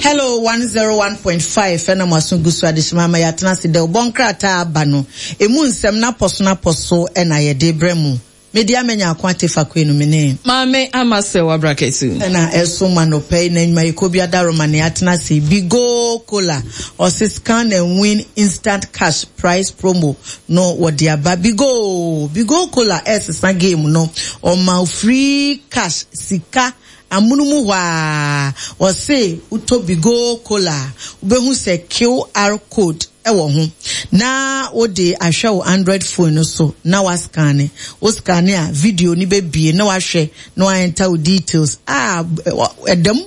Hello 101.5 ɛna mo aso gu so adehyema ama yɛatena ase dɛ ɔbɔ nkrataa aba no emu nsɛm n'apɔso n'apɔso ɛna yɛde brɛ mo. Mede amanya ako ate fakoe no me ne. Maame Ama Serwaa Braketu. Ɛna ɛsom anɔpa yi na nnwumayɛkuo bi adaworoma na yɛatena ase. Bigo Cola, ɔse scan and win instant cash prize promo no wɔde aba. Bigo, Bigo Cola ɛresesa game no, ɔma wo free cash, sika, amono mu hɔ ara. Ɔse wotɔ Bigo Cola a, wobɛhu sɛ QR code wɔ ho na wode ahwɛ wo Android phone no so na woascanne. Wo scanne a, video no bɛbue na wahwɛ na wa-enter wo details. Ah, ɛda mu.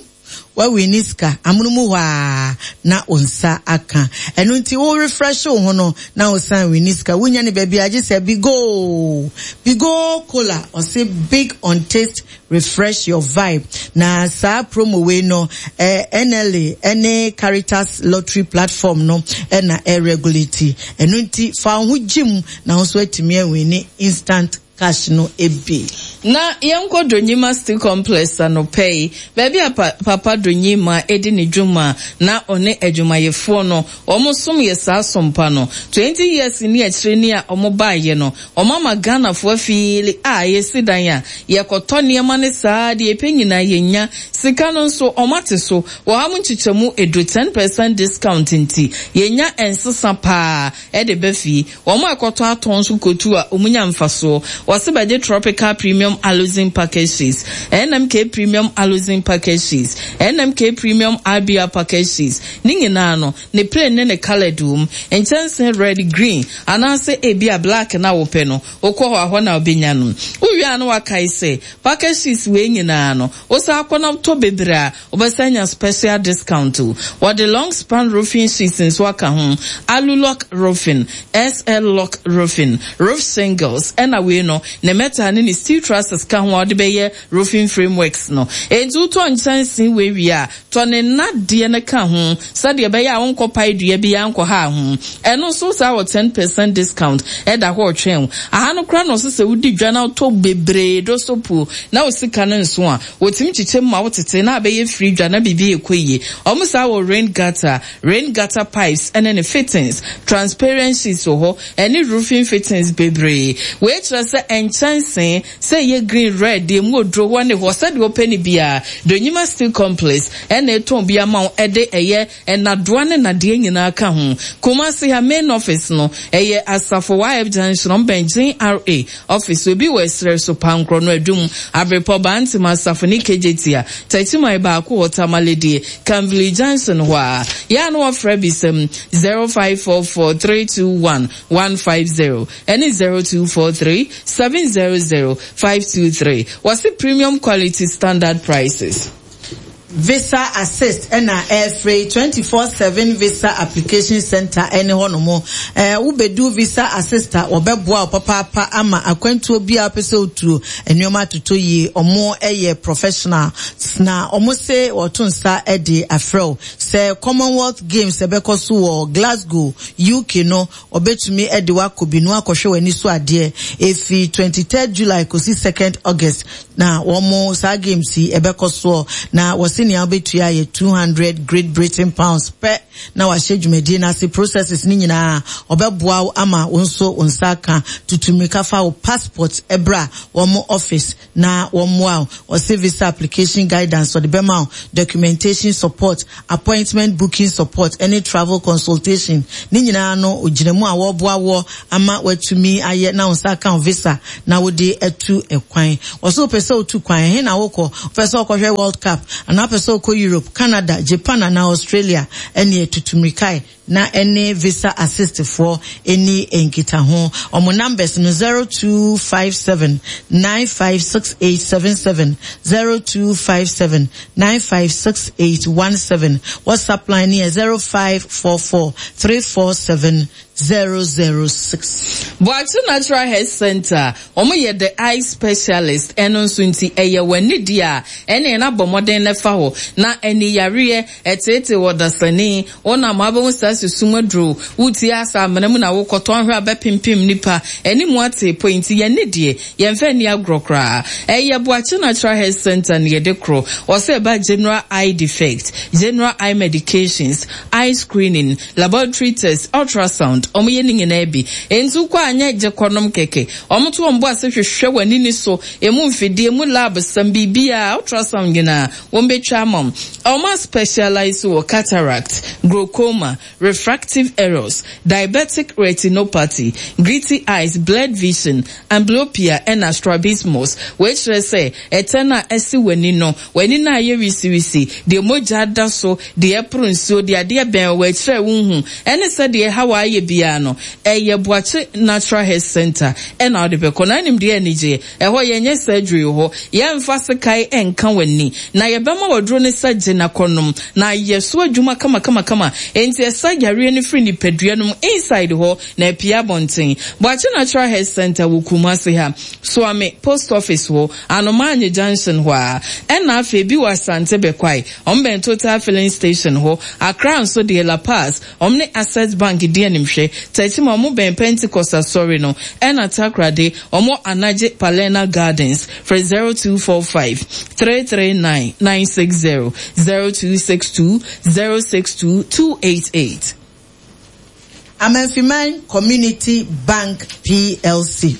Woawini sika amono mu hɔ ara na wo nsa aka. Ɛno nti wo refresh wo ho no na wo san wini sika. Wonya no baabi a gye sɛ Bigo. Bigo Cola, ɔse big on taste Refresh your vibe. Na saa promo wei no, eh, NLA ne Caritas Lottery Platform no na ɛregulate. Ɛno nti, fa wo ho gye mu na wo nso atumi awini instant cash no bi. Na yɛnkɔ Donyima Steel Complex anɔpa yi, baabi a pa Papa Donyima di ne dwuma na ɔne adwumayɛfoɔ no wɔn som yɛ saa som pa no. 20 years ne akyire ni a wɔn baeɛ no, Wɔn ama Ghanafoɔ afiili a yɛsi dan a, yɛkɔtɔ nneɛma no saa deɛ yɛpɛ nyinaa yɛnya. Sika no nso wɔn ate so wɔ ha mu nkyekyɛmu edu, ten percent discount, nti yɛnya nsesa paa de ba fie. Wɔn a ɛkɔtɔ atɔn nso kɔtu a wɔn nya mfasoɔ. Wɔse bɛgye Tropical Premium Aluzinc Package Sheets, NMK Premium Aluzinc Package Sheets, NMK Premium RBR Package Sheets, ne nyinaa no Ne plain ne ne coloured wom. Nkyɛnse red, green, anaasɛ ebia black na wopɛ no, wokɔ hɔ a, hɔ na wobɛnya no. Wowie a na woakae sɛ, package sheets wei nyinaa no, wosan kɔ na wotɔ bebree a, wobɛsan anya special discount o. Wɔde long span roofing sheets nso aka ho, Alulock roofing, SL lock roofing, roof shingles, ɛna wei no, ne metal ne ne steel trusses ka ho a wode bɛyɛ roofing frameworks no. Enti wotɔ nkyɛnse wei wie a, Tɔ ne nnadeɛ no ka ho sɛdeɛ ɛbɛyɛ a wonkɔpae dua biara nkɔha ho. Ɛno nso saa wɔ ten percent discount ɛda hɔ retwɛn wo. Aha no koraa na ɔse sɛ wodi dwa na wotɔ bebree do so puo na wo sika no nso a, wɔtumi kyekyɛ mu ma wo tete na abɛyɛ firi dwa na biribi rekɔ yie. Wɔn saa wɔ rain gutter, rain gutter pipes ɛne ne fittings, transparent sheets wɔ hɔ ɛne roofing fittings bebree. Wei kyerɛ sɛ nkyɛnsee Sɛ ɛyɛ green, red, deɛ emu oduro hɔ ne hɔ, sɛdeɛ wopɛ no biara, Donyima Steel Complex na ɛtɔn bi ama wo, ɛde ɛyɛ nnadoa ne nnadeɛ nyinaa ka ho. Kumasi ha main office no, ɛyɛ Asafo YF Junction, wɔn bɛn GRA office, obi wɔ ɛserɛ so, Pankorɔ no, Adum, Abrepɔ, Bantam, Asafo ne Kejetia, Takyiman baako wɔ Tamale deɛ, Kanvili Junction hɔ ara. Yɛ a na wɔfrɛ bisam 0544 321 150. Ɛne 0243 700 523. Wɔse premium quality standard prices. Visa Assist na ɛrefrɛ yi, 24/7 Visa Application Center ne hɔnom. Ɛɛ wobedu Visa Assist a, wɔbɛboa wo papaapa ama akwantuo biara a wopɛ sɛ wotuo, nneɛma atotɔ yie. Wɔyɛ professionals na wɔse wɔto nsa de afrɛ wo sɛ Commonwealth Games ɛbɛkɔ so wɔ Glasgow, UK no, Wɔbɛtumi de wo akɔ bi na woakɔhwɛ w'ani so adeɛ. Ɛfiri 23rd July kɔsi 2nd August na wɔn saa games yi ɛbɛkɔ soɔ. Na wɔse nea wobɛtua yɛ 200 Great Britain pounds pɛ na wahyɛ dwumadie no ase. Processes no nyinaa wɔbɛboa wo ama wo nso wo nsa aka. Tutu mmirika fa wo passport bra wɔn office na wɔmmoa wo. Ɔse visa application guidance ɔde bɛma wo, documentation support, appointment booking support ɛne travel consultation. Ne nyinaa no ogyina mu a wɔreboa woɔ ama woatumi ayɛ na wo nsa aka wo visa na wode atu kwan. Ɔse wopɛ sɛ wotu kwan, ɛhe na wokɔ? Wopɛ sɛ wokɔhwɛ World Cup anaa wopɛ sɛ wokɔ Europe, Canada, Japan anaa Australia? Ɛneɛ tutu mmirikae na ɛne Visa Assist foɔ nni nkitaho. Wɔn numbers no 0257 956877, 0257 956817. WhatsApp line no yɛ 0544 347 006. Boakye Natural Health Centre, wɔn yɛ the eye specialist, ɛno nso nti ɛyɛ w'ani deɛ a, ɛneɛ na bɔ mmɔden na fa hɔ. Na ani yareɛ, ɛteetee ɔdasani, wo nam abɛhu saa susum aduro, wotie asa amena mu na wokɔtɔ ahwɛ a bɛpempem nnipa, ani mu atee pɔ nti yɛn ani deɛ, yɛmfa nni agorɔ koraa. Ɛyɛ Boakye Natural Health Centre na yɛde korɔ. Ɔsɛ ɛba general eye defect, general eye medications, eye screening, laboratory test, ultrasound, wɔn yɛ ne nyinaa bi. Enti wokɔ a nyɛ gye kɔnom kɛkɛ. Wɔn to wɔn bo ase hwehwɛ w'ani ni so, emu mfidie, emu lab sɛm, biribiara, ultrasound nyinaa, wɔn bɛtwa ama wo. Wɔn a specialize wɔ cataract, glaucoma, refractive errors, diabetic retinopathy, gritty eyes, blurred vision, amblyopia ɛna strabismus. Wei kyerɛ sɛ ɛtɛ no a ɛsi w'ani no, w'ani no a ɛyɛ wisiwisi, deɛ mogya da so, deɛ ɛporo nsuo, deɛ adeɛ bɛn wɔ akyire a wonhu, ɛne sɛdeɛ ɛhaw a ayɛ biara no, ɛyɛ Boakye Natural Health Centre ɛna wode bɛkɔ. Na wonim deɛ anigyeɛ? Ɛhɔ yɛnyɛ surgery wɔ hɔ, yɛmfa sekan nka w'ani, na yɛbɛma wo aduro no sɛ gye na kɔnom, na ayɛ so adwuma kamakamakama. Enti ɛsa yareɛ no firi nipadua no mu inside hɔ na apue abɔnten. Boakye Natural Health Centre wɔ Kumasi ha, Suame Post Office hɔ, Anomaanye Junction hɔ ara. Ɛna afei bi wɔ Asante Bekwai, wɔn bɛn Total Filling Station hɔ. Accra nso deɛ La Paz, Wɔn ne Access Bank di animhwɛ. Techiman wɔn bɛn Pentecost Asɔre no. Ɛna Takoradi, wɔn wɔ Anagye Palerna Gardens. Frɛ 0245 339 960, 0262 062 288. Amanfiman Community Bank PLC.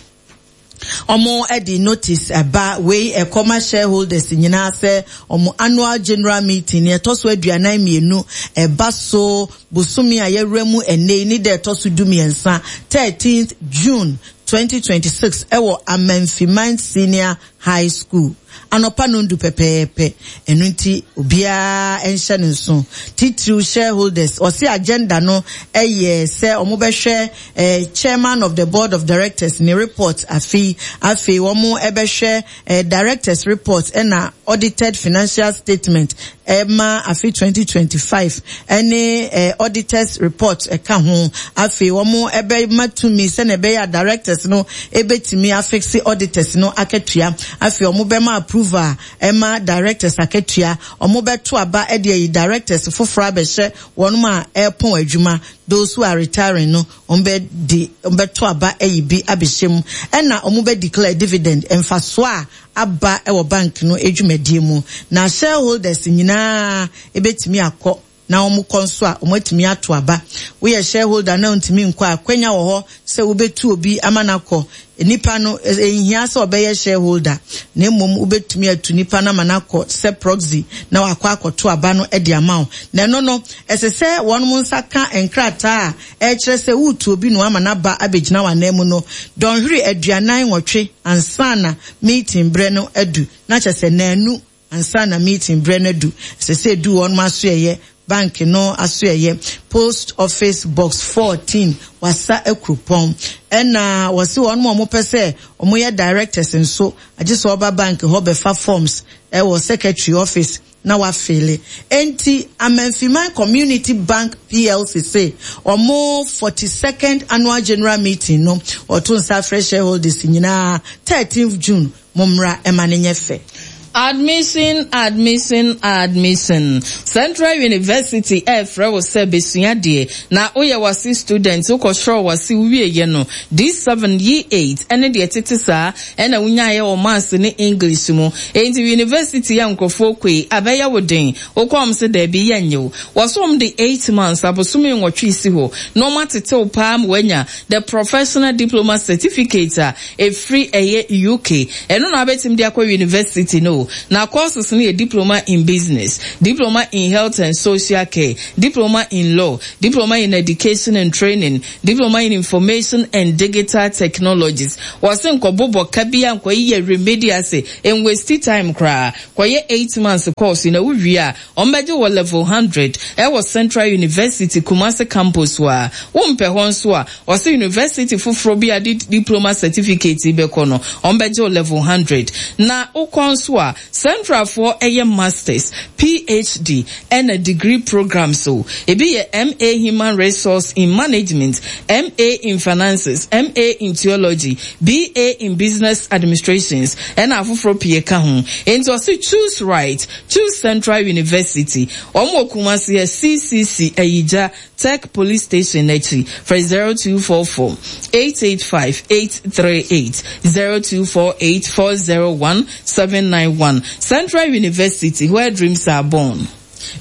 Ɔmo de notice ba wei ɛkɔma shareholders nyinaa sɛ ɔmo annual general meeting nea ɛtɔ so 42 ɛba so bosome a yɛwura mu ɛnnɛ yi ne da ɛtɔ so 13, 13th June 2026 ɛwɔ Amanfiman Senior High School anɔpa nondu pɛpɛɛpɛ. Ɛno nti obiara nhyɛ no nso. Titiriw shareholders, ɔse agenda no yɛ sɛ wɔbɛhwɛ eh, chairman of the board of directors ne report afei, afei wɔn bɛhwɛ eh, directors report ɛna audited financial statement ɛma afe 2025 ɛne eh, auditors report ɛka ho. Afei wɔn ɛbɛma tumi sɛnea ɛbɛyɛ a directors no ɛbɛtumi afixe auditors no akatua. Afei wɔn bɛma approval ɛma directors akatua. Wɔn bɛto aba ɛde ayi directors foforɔ abɛhyɛ wɔn a ɛrepɔn adwuma, those who are retiring no, wɔn bɛ de wɔn bɛto aba ayi bi abɛhyɛ mu. Ɛna wɔn bɛ declare dividend mfasoɔ a aba wɔ bank no dwumadie mu. Na shareholders nyinaa ɛbɛtumi akɔ na wɔn kɔ nso a wɔn atumi ato aba. Woyɛ shareholder na wontumi nkɔ a, akwanya wɔ hɔ sɛ wobɛtu obi ama no akɔ. Nipa no, ɛnhia sɛ ɔbɛyɛ shareholder, na mmom wobɛtumi atu nipa no ama no akɔ sɛ proxy na wakɔ akɔto aba no de ama wo. Na ɛno no, ɛsɛ sɛ wɔn nsa ka nkrataa a ɛkyerɛ sɛ woretu obi na wama no aba abɛgyina w'ananmu no dɔnhwere 48 ansa na meeting berɛ no adu, na kyerɛ sɛ nnanu ansa na meeting berɛ no adu. Ɛsɛ sɛ ɛdu wɔn asoɛeɛ, bank no asoɛeɛ, Post Office Box 14, Wassa Akuropɔn. Ɛna wɔse wɔn a wɔpɛ sɛ wɔyɛ directors nso, agye sɛ wɔba bank hɔ bɛfa forms wɔ secretary office na wɔafeele. Enti Amanfiman Community Bank PLC se wɔn 42nd Annual General Meeting no, wɔto nsa frɛ shareholders nyinaa 13th June, mommra ma no nyɛ fɛ. Admission, admission, admission. Central University ɛrefrɛ wo sɛ bɛsua adeɛ na woyɛ w'ase student, wokɔsrɔɔ w'ase wowieɛ no, D7, E8 ɛne deɛ ɛtete saa ɛna wonyaeɛ wɔ Maths ne English mu. Enti university a nkurɔfoɔ kɔ yi, abɛyɛ wo den? Wokɔ a wɔn se daabi yɛnnye wo. Wɔse wɔn de eight months, abosome nwɔtwe si hɔ na wɔn atete wo paa ma woanya the Professional Diploma Certificate a ɛfiri ɛyɛ UK. Ɛno na wobɛtumi de akɔ university no o. Na courses no yɛ Diploma in Business, Diploma in Health and Social Care, Diploma in Law, Diploma in Education and Training, Diploma in Information and Digital Technologies. Wɔse nkɔbobɔ ka biara nkɔyeyɛ remedials, nwasti time koraa. Kɔyɛ eight months course yi na wowie a, wɔbɛgye wo wɔ level hundred ɛwɔ Central University Kumasi campus hɔ a. Wompɛ hɔ nso a, wɔse university foforɔ bi a de diploma certificate yi bɛkɔ no, wɔbɛgye wo level hundred. Na wokɔ nso a, a, Centralfoɔ yɛ Masters, PHD, ɛna degree programs o. Ebi yɛ MA Human Resource in Management, MA in Finances, MA in Theology, BA in Business Administrations, ɛna afoforɔ pii ka ho. Enti ɔse choose right, choose Central University. Wɔn wɔ Kumasi ɛ, CCC, Ayigya, Tech Police Station no akyi. Frɛ 0244 885 838, 0248 401 791. Central University, where dreams are born.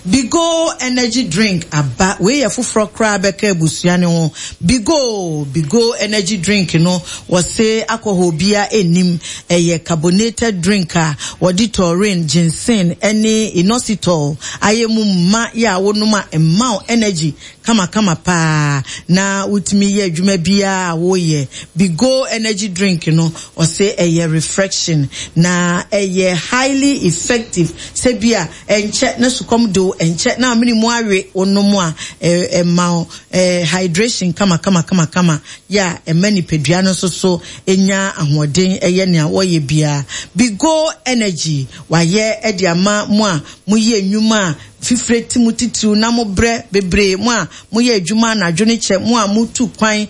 Bigo energy drink aba, wei yɛ foforɔ koraa bɛka abusua no ho. Bigo, Bigo energy drink no wɔse alcohol biara nnim, ɛyɛ carbonated drink a wɔde taurine, ginseng ne inositol ayɛ mu ma yɛ a wonom a ɛma wo energy kamakama paa na wotumi yɛ adwuma biara a woyɛ. Bigo energy drink no ɔse ɛyɛ refreshing na ɛyɛ highly effective sɛ bi a ɛnkyɛ na sukɔm de wo, ɛnkyɛ na amene mu awe, wonom a ɛma wo hydration kamakamakamakama yɛ a ɛma nipadua no nso so nya ahoɔden yɛ nea wɔyɛ biara. Bigo Energy wayɛ de ama mo a moyɛ nnwuma a fifire te mo titiriw na mobrɛ bebree, mo a moyɛ adwuma anadwo ne kyɛ, mo a motu kwan,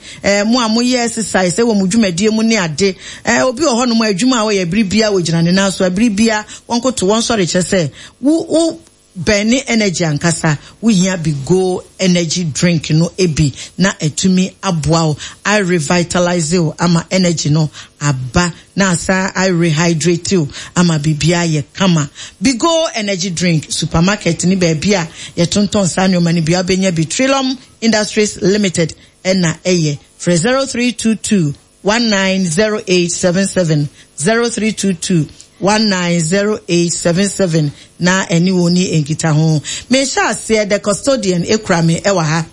mo a moyɛ exercise wɔ mo dwumadie mu ne ade. Obi wɔ hɔnom a adwuma a ɔyɛ bere biara ogyina ne nan so, bere biara wɔnkoto wɔnsɔre kyerɛ sɛ wo wo bɛn ne energy ankasa. Wohia Bigo energy drink no bi na atumi aboa wo a revitalise wo ama energy no aba na asan a rehydrate wo ama biribiara ayɛ kama. Bigo energy drink, supermarket ne baabi a yɛtontɔn saa nneɛma no biara wobɛnya bi. Trilum Industries Limited na ɛyɛ. Frɛ 0322 190877, 0322 190877 na ɛne wɔn ni nkitaho. Mehyɛ aseɛ, The Custodian kura me wɔ ha.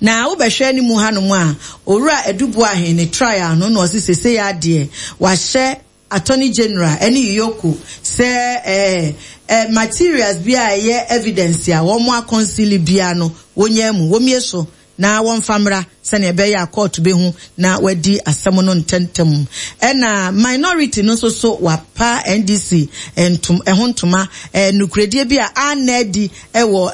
Na wobɛhwɛ ne mu hanom a, Owura Adu Boahen ne trial no na ɔse sesei adeɛ wahyɛ Attorney General ne EOCO sɛ ɛɛ eh, materials bi a ɛyɛ evidence a wɔn akɔnsili biara no wɔnyaa mu, wɔmmie so na wɔmfa mmra sɛnea ɛbɛyɛ a kɔɔto bɛhu na wɔadi asɛm no ntɛmntɛm. Ɛna minority no nso so wapa NDC ntom, ɛho ntoma, ɛɛ nokorɛdie bi a anna adi wɔ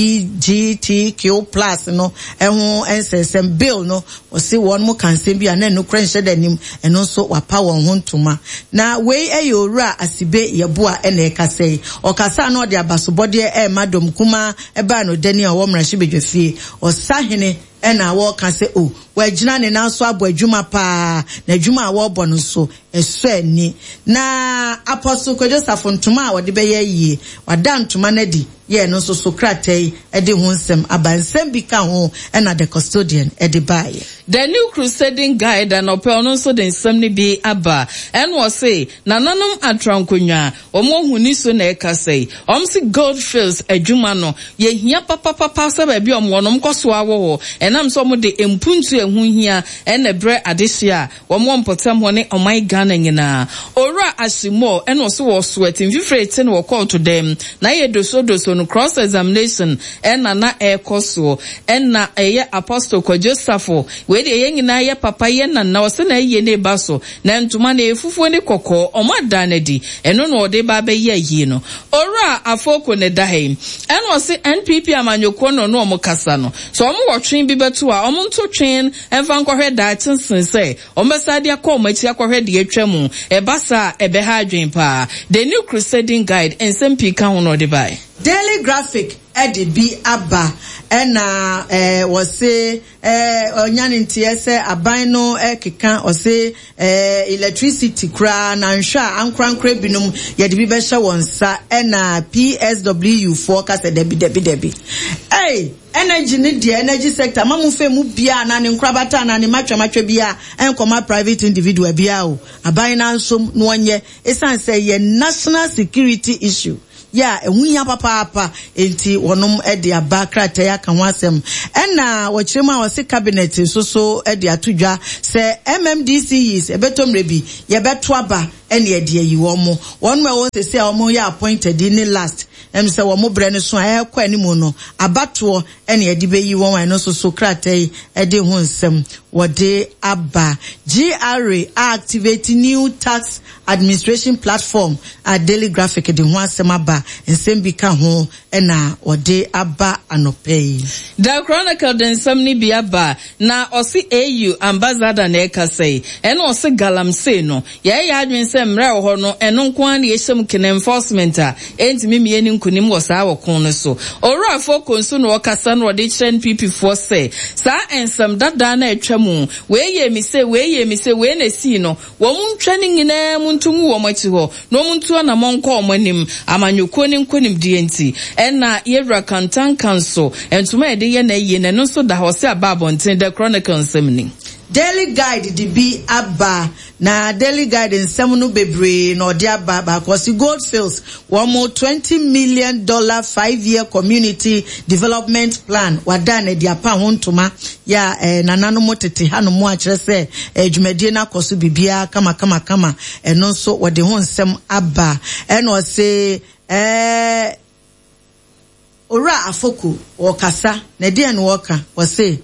anti-LBGTQ plus no ho nsɛnsɛm bill no, wɔse wɔn mo ka nsɛm bi a na nokorɛ nhyɛ da nnim, ɛno nso wapa wɔn ho ntoma. Na wei yɛ Owura Asibe Yeboah na ɛkasa yi. Ɔkasa a na ɔde abasobɔdeɛ rema dɔm kumaa baa no dani a ɔwɔ mmarahyɛbadwafie. Ɔsahene na wɔreka sɛ oh, wagyina ne nan so abɔ adwuma paa, na adwuma a wɔrebɔ no nso, ɛsɔ ani. Na Apostle Kwadwo Safo ntoma a ɔde bɛyɛ ayie, wada ntoma no adi yɛ ɛno nso so krataa yi de ho nsɛm aba. Nsɛm bi ka ho na The Custodian de baeɛ. The New Crusading Guide anɔpɛ ɔno nso de nsɛm no bi aba. Ɛna ɔse, Nananom atrankonnwa, wɔn ahoni so na ɛkasa yi. Wɔn se Gold Fields adwuma no, yɛhia papapapa sɛ baabi a wɔn wɔ no, wɔn kɔ so ara wɔ hɔ. Ɛnam sɛ wɔn de mpuntuo a ɛho hia na ɛbrɛ adehyeɛ a wɔn wɔ mpɔtam hɔ ne ɔman Ghana nyinaa. Owura Ashley Moore ɛna ɔse wɔ sweat mfifire rete no wɔ kɔɔto dɛm na ayɛ doso doso no cross examination ɛna na ɛrekɔ soɔ ɛna ɛyɛ Apostle Kwadwo Safo wei deɛ yɛn nyinaa yɛ papa yɛ nana ɔse na ayie no reba so na ntoma no ɛyɛ fufuo ne kɔkɔɔ ɔmo adaa no adi ɛno na ɔde ba abɛyɛ ayie no. Owura Afoko na ɛda ha yi ɛna ɔse NPP amanyɔkuo na ɔne ɔmo kasa no sɛ ɔmo wɔ twen bi bɛto a ɔmo nto twen Ɛmfa nkɔhwɛ daakye sen sɛ wɔbɛsan de akɔ wɔn akyi akɔhwɛ deɛ atwa mu. Ɛba saa a, ɛbɛha adwene paa. The New Crusading Guide, nsɛm pii ka ho na ɔde bae. Daily Graphic de bi aba na wɔse ɔnya ne nteɛ sɛ aban no keka ɔse electricity koraa na nhwɛ a ankorankorɛ binom yɛde bi bɛhyɛ wɔn nsa na PSW foɔ ka sɛ dabi dabi dabi. Ei! Energy no deɛ energy sector ma mo fɛ mu biaa anaa ne nkorabata anaa ne matwamatwa biaa ɛnkɔma private individual biaa o, aban no ansom na ɔnyɛ ɛsiane sɛ ɛyɛ national security issue yɛ a ɛho hia papaapa enti wɔnom de aba krataa yi aka ho asɛm. Ɛna wɔkyerɛ mu a wɔse cabinet nso so de ato dwa sɛ MMDCEs ɛbɛtɔ mmerɛ bi yɛbɛto aba ɛne ɛde ayi wɔn, wɔnom a ɛwɔ sɛsei a wɔn yɛ appointed yi ne last Ɛm sɛ wɔn berɛ no so a ɛrekɔ anim no, abatoɔ na yɛde bɛyi wɔn a ɛno nso so krataa yi de ho nsɛm. wɔde aba. GRA a-activate new tax administration platform a Daily Graphic de ho asɛm aba, nsɛm bi ka ho na wɔde aba anɔpa yi. The Chronicle de nsɛm no bi aba, na ɔse AU ambassador na ɛkasa yi, ɛna ɔse galamsey no, yɛyɛ yɛn adwene sɛ mmara a ɛwɔ hɔ no, ɛno nko ara na yɛhyɛ mu kene enforcement a, ɛntumi mmie ne nkunim wɔ saa ɔko no so. Owura Afoko nso na ɔkasa na ɔde kyerɛ NPP foɔ sɛ, saa nsɛm dadaa no a atwa mu, wei yɛɛ me sei, wei yɛɛ me sei, wei na ɛsii no, Wɔn ntwa ne nyinaa mu nto ngu wɔn akyi hɔ, na wɔn ntu anamɔn nkɔ wɔn anim, amanyɔkuo no nkonimdie nti. Ɛna Yɛwura Kantanka nso, ntoma a yɛde yɛ n'ayie no, ɛno nso da hɔ sɛ aba abɔnten, The Chronicle nsɛm ni. Daily Guide de bi aba, na Daily Guide nsɛm no bebree na ɔde aba. Baako ɔse Goldfields wɔn $20 million five-year community development plan wada no adi apa ho ntoma yɛ a eh, nananom tete hanom a kyerɛ sɛ eh, dwumadie no akɔ so biribiara kama kama kama. Ɛno nso wɔde ho nsɛm aba. Ɛna ɔse eh, Owura Afoko wɔkasa na ɛdeɛn na wɔka? Wɔse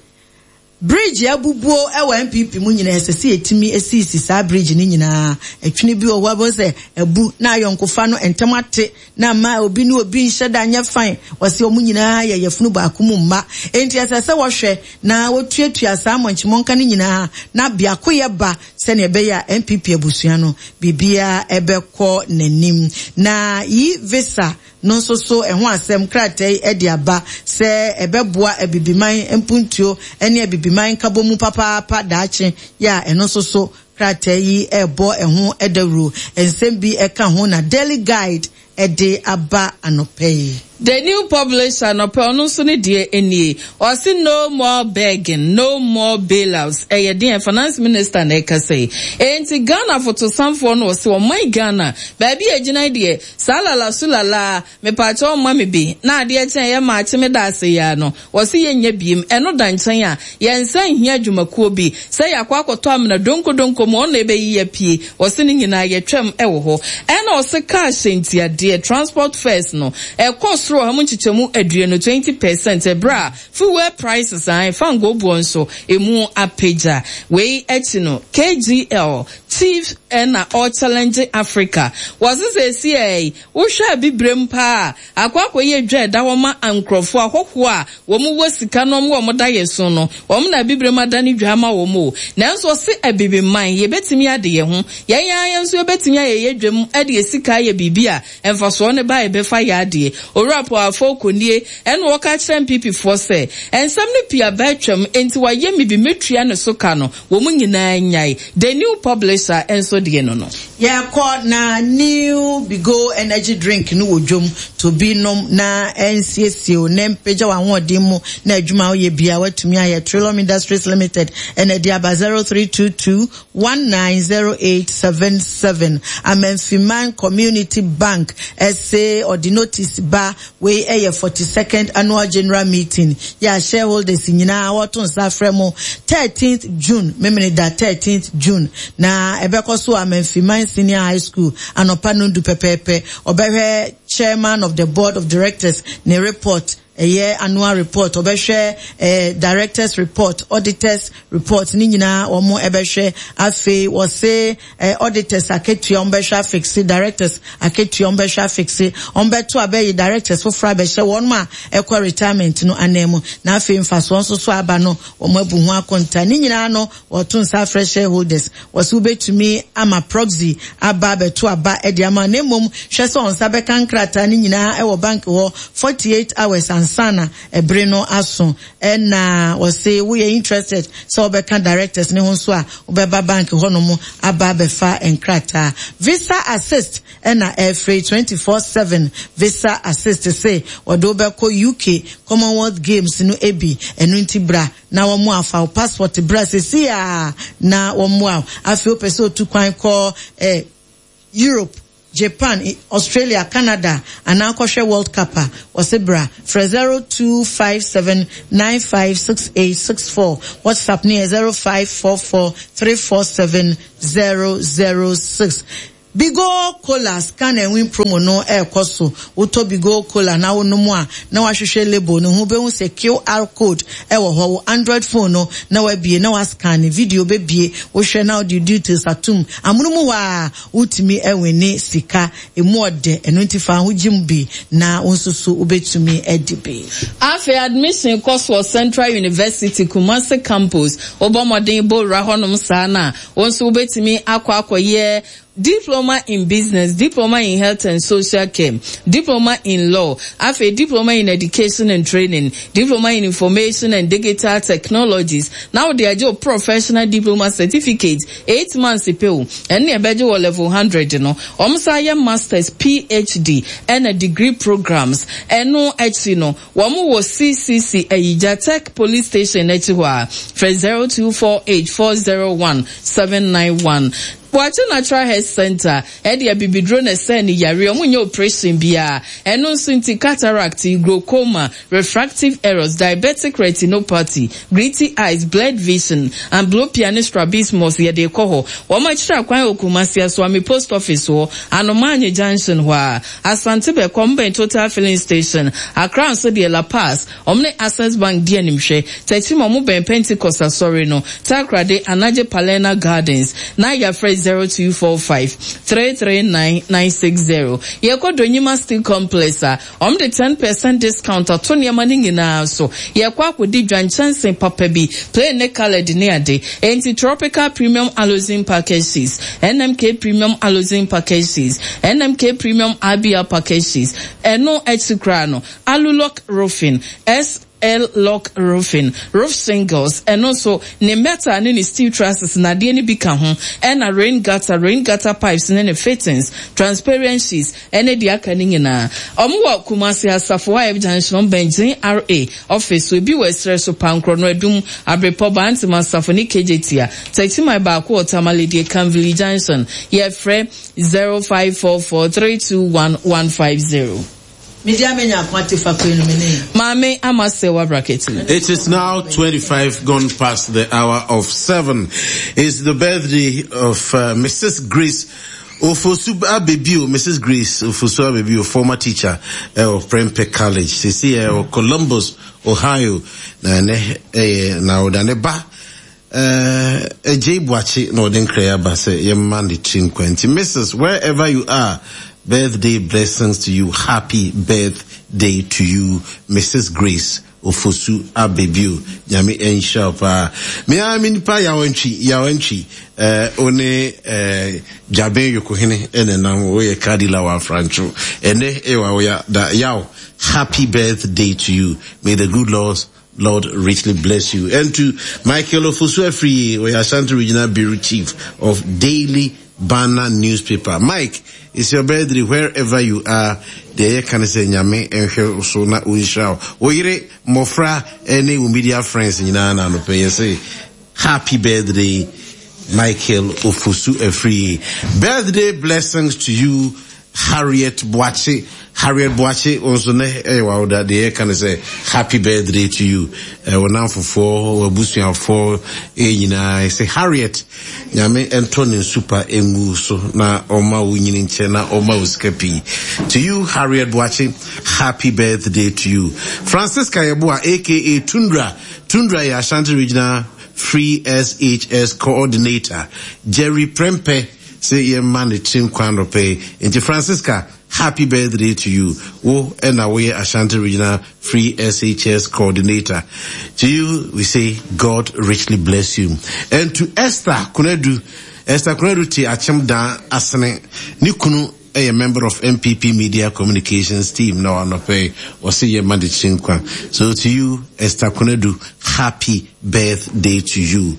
Bridge abubuo wɔ NPP mu nyinaa ɛsɛ sɛ yɛtumi sisi saa bridge no nyinaa. Ɛtwene bi wɔ hɔ a wobɛhu sɛ abu na ayɔnkofa no ntɛm ate na ama obi ne obi nhyɛ da nyɛ fine. Wɔse wɔn nyinaa yɛ yafunu baako mu mma. Enti ɛsɛ sɛ wɔhwɛ na wɔtuatua saa mmɔnkyemmɔnka no nyinaa na biakoyɛ ba sɛnea ɛbɛyɛ a NPP abusua no biribiara ɛbɛkɔ n'anim. Na yi visa no nso so ɛho asɛm krataa yi de aba sɛ ɛbɛboa Abibiman mpuntuo ne Abibiman nkabomu papaapa daakye yɛ a ɛno nso so krataa yi rebɔ ɛho dawuro. Nsɛm bi ka ho na Daily Guide de aba anɔpa yi. The New Publisher anɔpa yi ɔno nso ne deɛ nie, ɔse no more begging, no more bailouts, ɛyɛ deɛn? Finance Minister na ɛkasa yi. Enti Ghana fotosanfoɔ no ɔse ɔman Ghana baabi a ɛgyina yi deɛ Saa lala su lala mepaakyɛw mma me bi na adeɛ kye a ɛyɛ maakye meda ase yi ara no wɔse yɛnnya biem ɛno da nkyɛn a yɛnsa nhia adwumakuo bi sɛ yɛakɔ akɔtɔ amena donko donko mu ɔno na ɛbɛyi apue wɔse ne nyinaa yɛtwam ɛwɔ hɔ ɛna ɔse car hyɛntiadeɛ transport fares no ɛkɔ soro ɔha mu nkyekyɛmu aduonu 20% ɛberɛ a fuel prices ae fangoo boɔ nso ɛmu apagya wei akyi no KGL Chief na ɔrechallenge Africa. Wɔse seesei wohwɛ abibirem paa a, akɔ akɔyɛ dwa a ɛda hɔ ma nkurɔfoɔ, ahɔhoɔ a wɔn wɔ sika na wɔn wɔ wɔn daeɛso no, wɔn na abibirem adane dwa ama wɔn o. Nanso ɔse abibiman, yɛbɛtumi ade yɛn ho. Yɛn ara yɛn nso yɛbɛtumi ayɛ yɛn dwam de yɛn sika ayɛ biribi a mfasoɔ no ba a yɛbɛfa yɛ adeɛ. Owura Paul Afoko nie ɛna ɔreka akyerɛ NPP foɔ sɛ, nsɛm no pii aba atwam, enti wayɛ me bi mɛtua ne so ka no. Wɔn nyinaa nyae. The New Publisher nso deɛ no no. Yɛkɔ na New Bigo Energy Drink no wɔ dwom, tɔ bi nom na ɛnsiesie wo na ɛmpagya w'ahoɔden mu na adwuma a woyɛ biara woatumi ayɛ. Trillium Industries Limited na ɛde aba 0322 190877. Amanfiman Community Bank se ɔde notice ba. Wei yɛ 42nd Annual General Meeting yɛ a shareholders nyinaa wɔto nsa afrɛ mo 13th June, Memeneda 13th June, na ɛbɛkɔ so wɔ Amanfiman Senior High School anɔpa nondu pɛpɛɛpɛ. Ɔbɛhwɛ Chairman of the Board of Directors ne report, ɛyɛ annual report, ɔbɛhwɛ eh, directors report, auditors report, ne nyinaa wɔn ɛbɛhwɛ. Afei wɔse Eh auditors akatua wɔn bɛhwɛ afixe, directors akatua wɔn bɛhwɛ afixe, wɔn bɛto abɛyi directors foforɔ abɛhyɛ wɔn a ɛkɔ retirement no anan mu, na afei mfasoɔ nso so aba no wɔn abu ho akonta. Ne nyinaa no wɔto nsa afrɛ shareholders, wɔse wobɛtumi ama proxy aba abɛto aba de ama, na mmom hwɛ sɛ wɔn nsa bɛka nkrataa no nyinaa wɔ bank hɔ 48 hours ansa na ɛbere no aso. Ɛna wɔse woyɛ interested sɛ wobɛka directors no ho nso a, wobɛba bank hɔnom aba abɛfa nkrataa. Visa Assist ɛna ɛfrɛ 24/7 Visa Assist se wɔde wo bɛkɔ UK Commonwealth Games no bi, ɛno nti bra na wɔn afa wo passport bra sesei ara na wɔmmoa wo. Afei wopɛ sɛ otu kwan kɔ eh, Europe, Japan, Australia, Canada anaa kɔhwɛ World Cup a, wɔse bra. Frɛ 0257956864. WhatsApp no yɛ 0544347006. Bigo Cola Scan and Win promo no rekɔ so. Wotɔ Bigo Cola na wonom a, na woahwehwɛ label no ho, wobɛhu sɛ QR code wɔ hɔ. Wo Android phone no na woabue na woascanne, video bɛbue, wohwɛ na wode wo details atom. Amono mu hɔ ara, wotumi winne sika. Emu ɔdɛ, ɛno nti fa ho gyem bi na wo nso so wobɛtumi adi bi. Afei admission kɔ so wɔ Central University, Kumasi Campus. Wobɔ mmɔden bɔ wura hɔnom saa no a, wo nso wobɛtumi akɔ akɔyɛ Diploma in Business, Diploma in Health and Social Care, Diploma in Law, afei Diploma in Education and Training, Diploma in Information and Digital Technologies, na wode agye wo Professional Diploma Certificate, 8 months pɛ o, ɛno na ɛbɛgye wɔ level 100 no. Wɔn san yɛ Masters, PhD, ɛna degree programs. Ɛno akyi no, wɔn wɔ CCC Ayigya Tech Police Station akyi hɔ a, frɛ 0248 401 791. Boakye Natural Health Center ɛde abibiduro na ɛsɛn ne yareɛ, ɔmo nyɛ operation biara. Ɛno nso nti cataract, glaucoma, refractive errors, diabetic retinopathy, gritty eyes, blurred vision, amblyopia ne strabismus yɛde kɔ hɔ. Wɔn akyiri akwan wɔ Kumasi Asuame Post Office hɔ, Anomaanye Junction hɔ a, Asante Bɛkɔ, mbɛn Total Filling Station, Accra nso deɛ La Paz, wɔn ne Access Bank di animhwɛ, Techiman wɔn bɛn Pentecost Asɔre no, Takoradi, Anagye Palerna Gardens, na yɛafrɛ 0245 339 960. Yɛkɔ Donyima Steel Complex a, wɔn de 10% discount ato nneɛma no nyinaa so. Yɛkɔ akɔdi dwa nkyɛnsee papa bi, plain ne coloured ne ade. Enti Tropical Premium Aloxin Package Sheets, NMK Premium Aloxin Package Sheets, NMK Premium IBL Package Sheets, ɛno akyi koraa no, Alulock Roofing, SL Lock Roofing, Roof Shingles, ɛno nso, ne metal ne ne steel trusses na adeɛ no bi ka ho, ɛna rain gutter, rain gutter pipes ne ne fittings, transparent sheets, ɛne deɛ aka no nyinaa. Wɔn wɔ Kumasi Asafo IF Junction, wɔn bɛn GRA office so, ebi wɔ Ɛserɛ so, Pankorɔ no, Adum, Abrepɔ, Bantam Asafo ne Kejetia. Techiman baako wɔ Tamale deɛ Kanvili Junction. Yɛfrɛ 0544 321 150. Media menya ako ate fa kwan no me ne. Maame Ama Sewa Braketi. It is now 25 gone past the hour of 7. It's the birthday of Mrs. Grace Ofosu Abebio, Mrs. Grace Ofosu Abebio, former teacher of Prempeh College. Sisi of Columbus, Ohio. Na ne eh na oda ne ba eh Ejay Boakye na ɔde nkra aba sɛ yɛmma ne tiri nkwa nti Mrs. wherever you are, birthday blessings to you. Happy birthday to you, Mrs. Grace Ofosu Abebio. Nyame nhyira wo paa. Me ara me nipa Yawantwi, Yawantwi, eh, wo ne eh, Dwaben Yokohene ɛna nam, woyɛ car dealer wɔ Afrancho. Ɛnɛ ɛwɔ awoya da yaw. Happy birthday to you. May the good Lord richly bless you. And to Michael Ofosu Afriyie, oya Ashanti Regional Bureau Chief of Daily Banner Newspaper. Mike, it's your birthday wherever you are. Deɛ yɛka ne sɛ Nyame nhwɛ so na ɔnhyira wo. Wo yere, mmɔfra ne wo media friends nyinaa na anɔpɛ yɛ sɛ happy birthday Michael Ofosu Afriyie. Birthday blessings to you Harriet Boakye. Harriet Boakye nso nɛ ɛyɛ w'awoda. Deɛ yɛka ne sɛ happy birthday to you. Wo namfofoɔ, w'abusuafoɔ nyinaa sɛ Harriet Nyame ɛntɔ ne nsupa ngu so na ɔma wo nyini nkyɛ na ɔma wo sika pii. To you Harriet Boakye, happy birthday to you. Francisca Yeboah aka Tundra. Tundra yɛ Ashanti Regional Free SHS Coordinator. Jerry Prempeh sɛ yɛmma ne tiri nkwa anɔpɛ yi. Nti Francisca, happy birthday to you. Wo ɛna woyɛ Ashanti Regional Free SHS Coordinator. To you, we say God richly bless you. And to Esther Kunadu, Esther Kunadu te Akyem Dan Asene, ne kunu ɛyɛ member of NPP Media Communications team na anɔpɛ yi ɔse yɛma ne tiri nkwa. So to you, Esther Kunadu, happy birthday to you.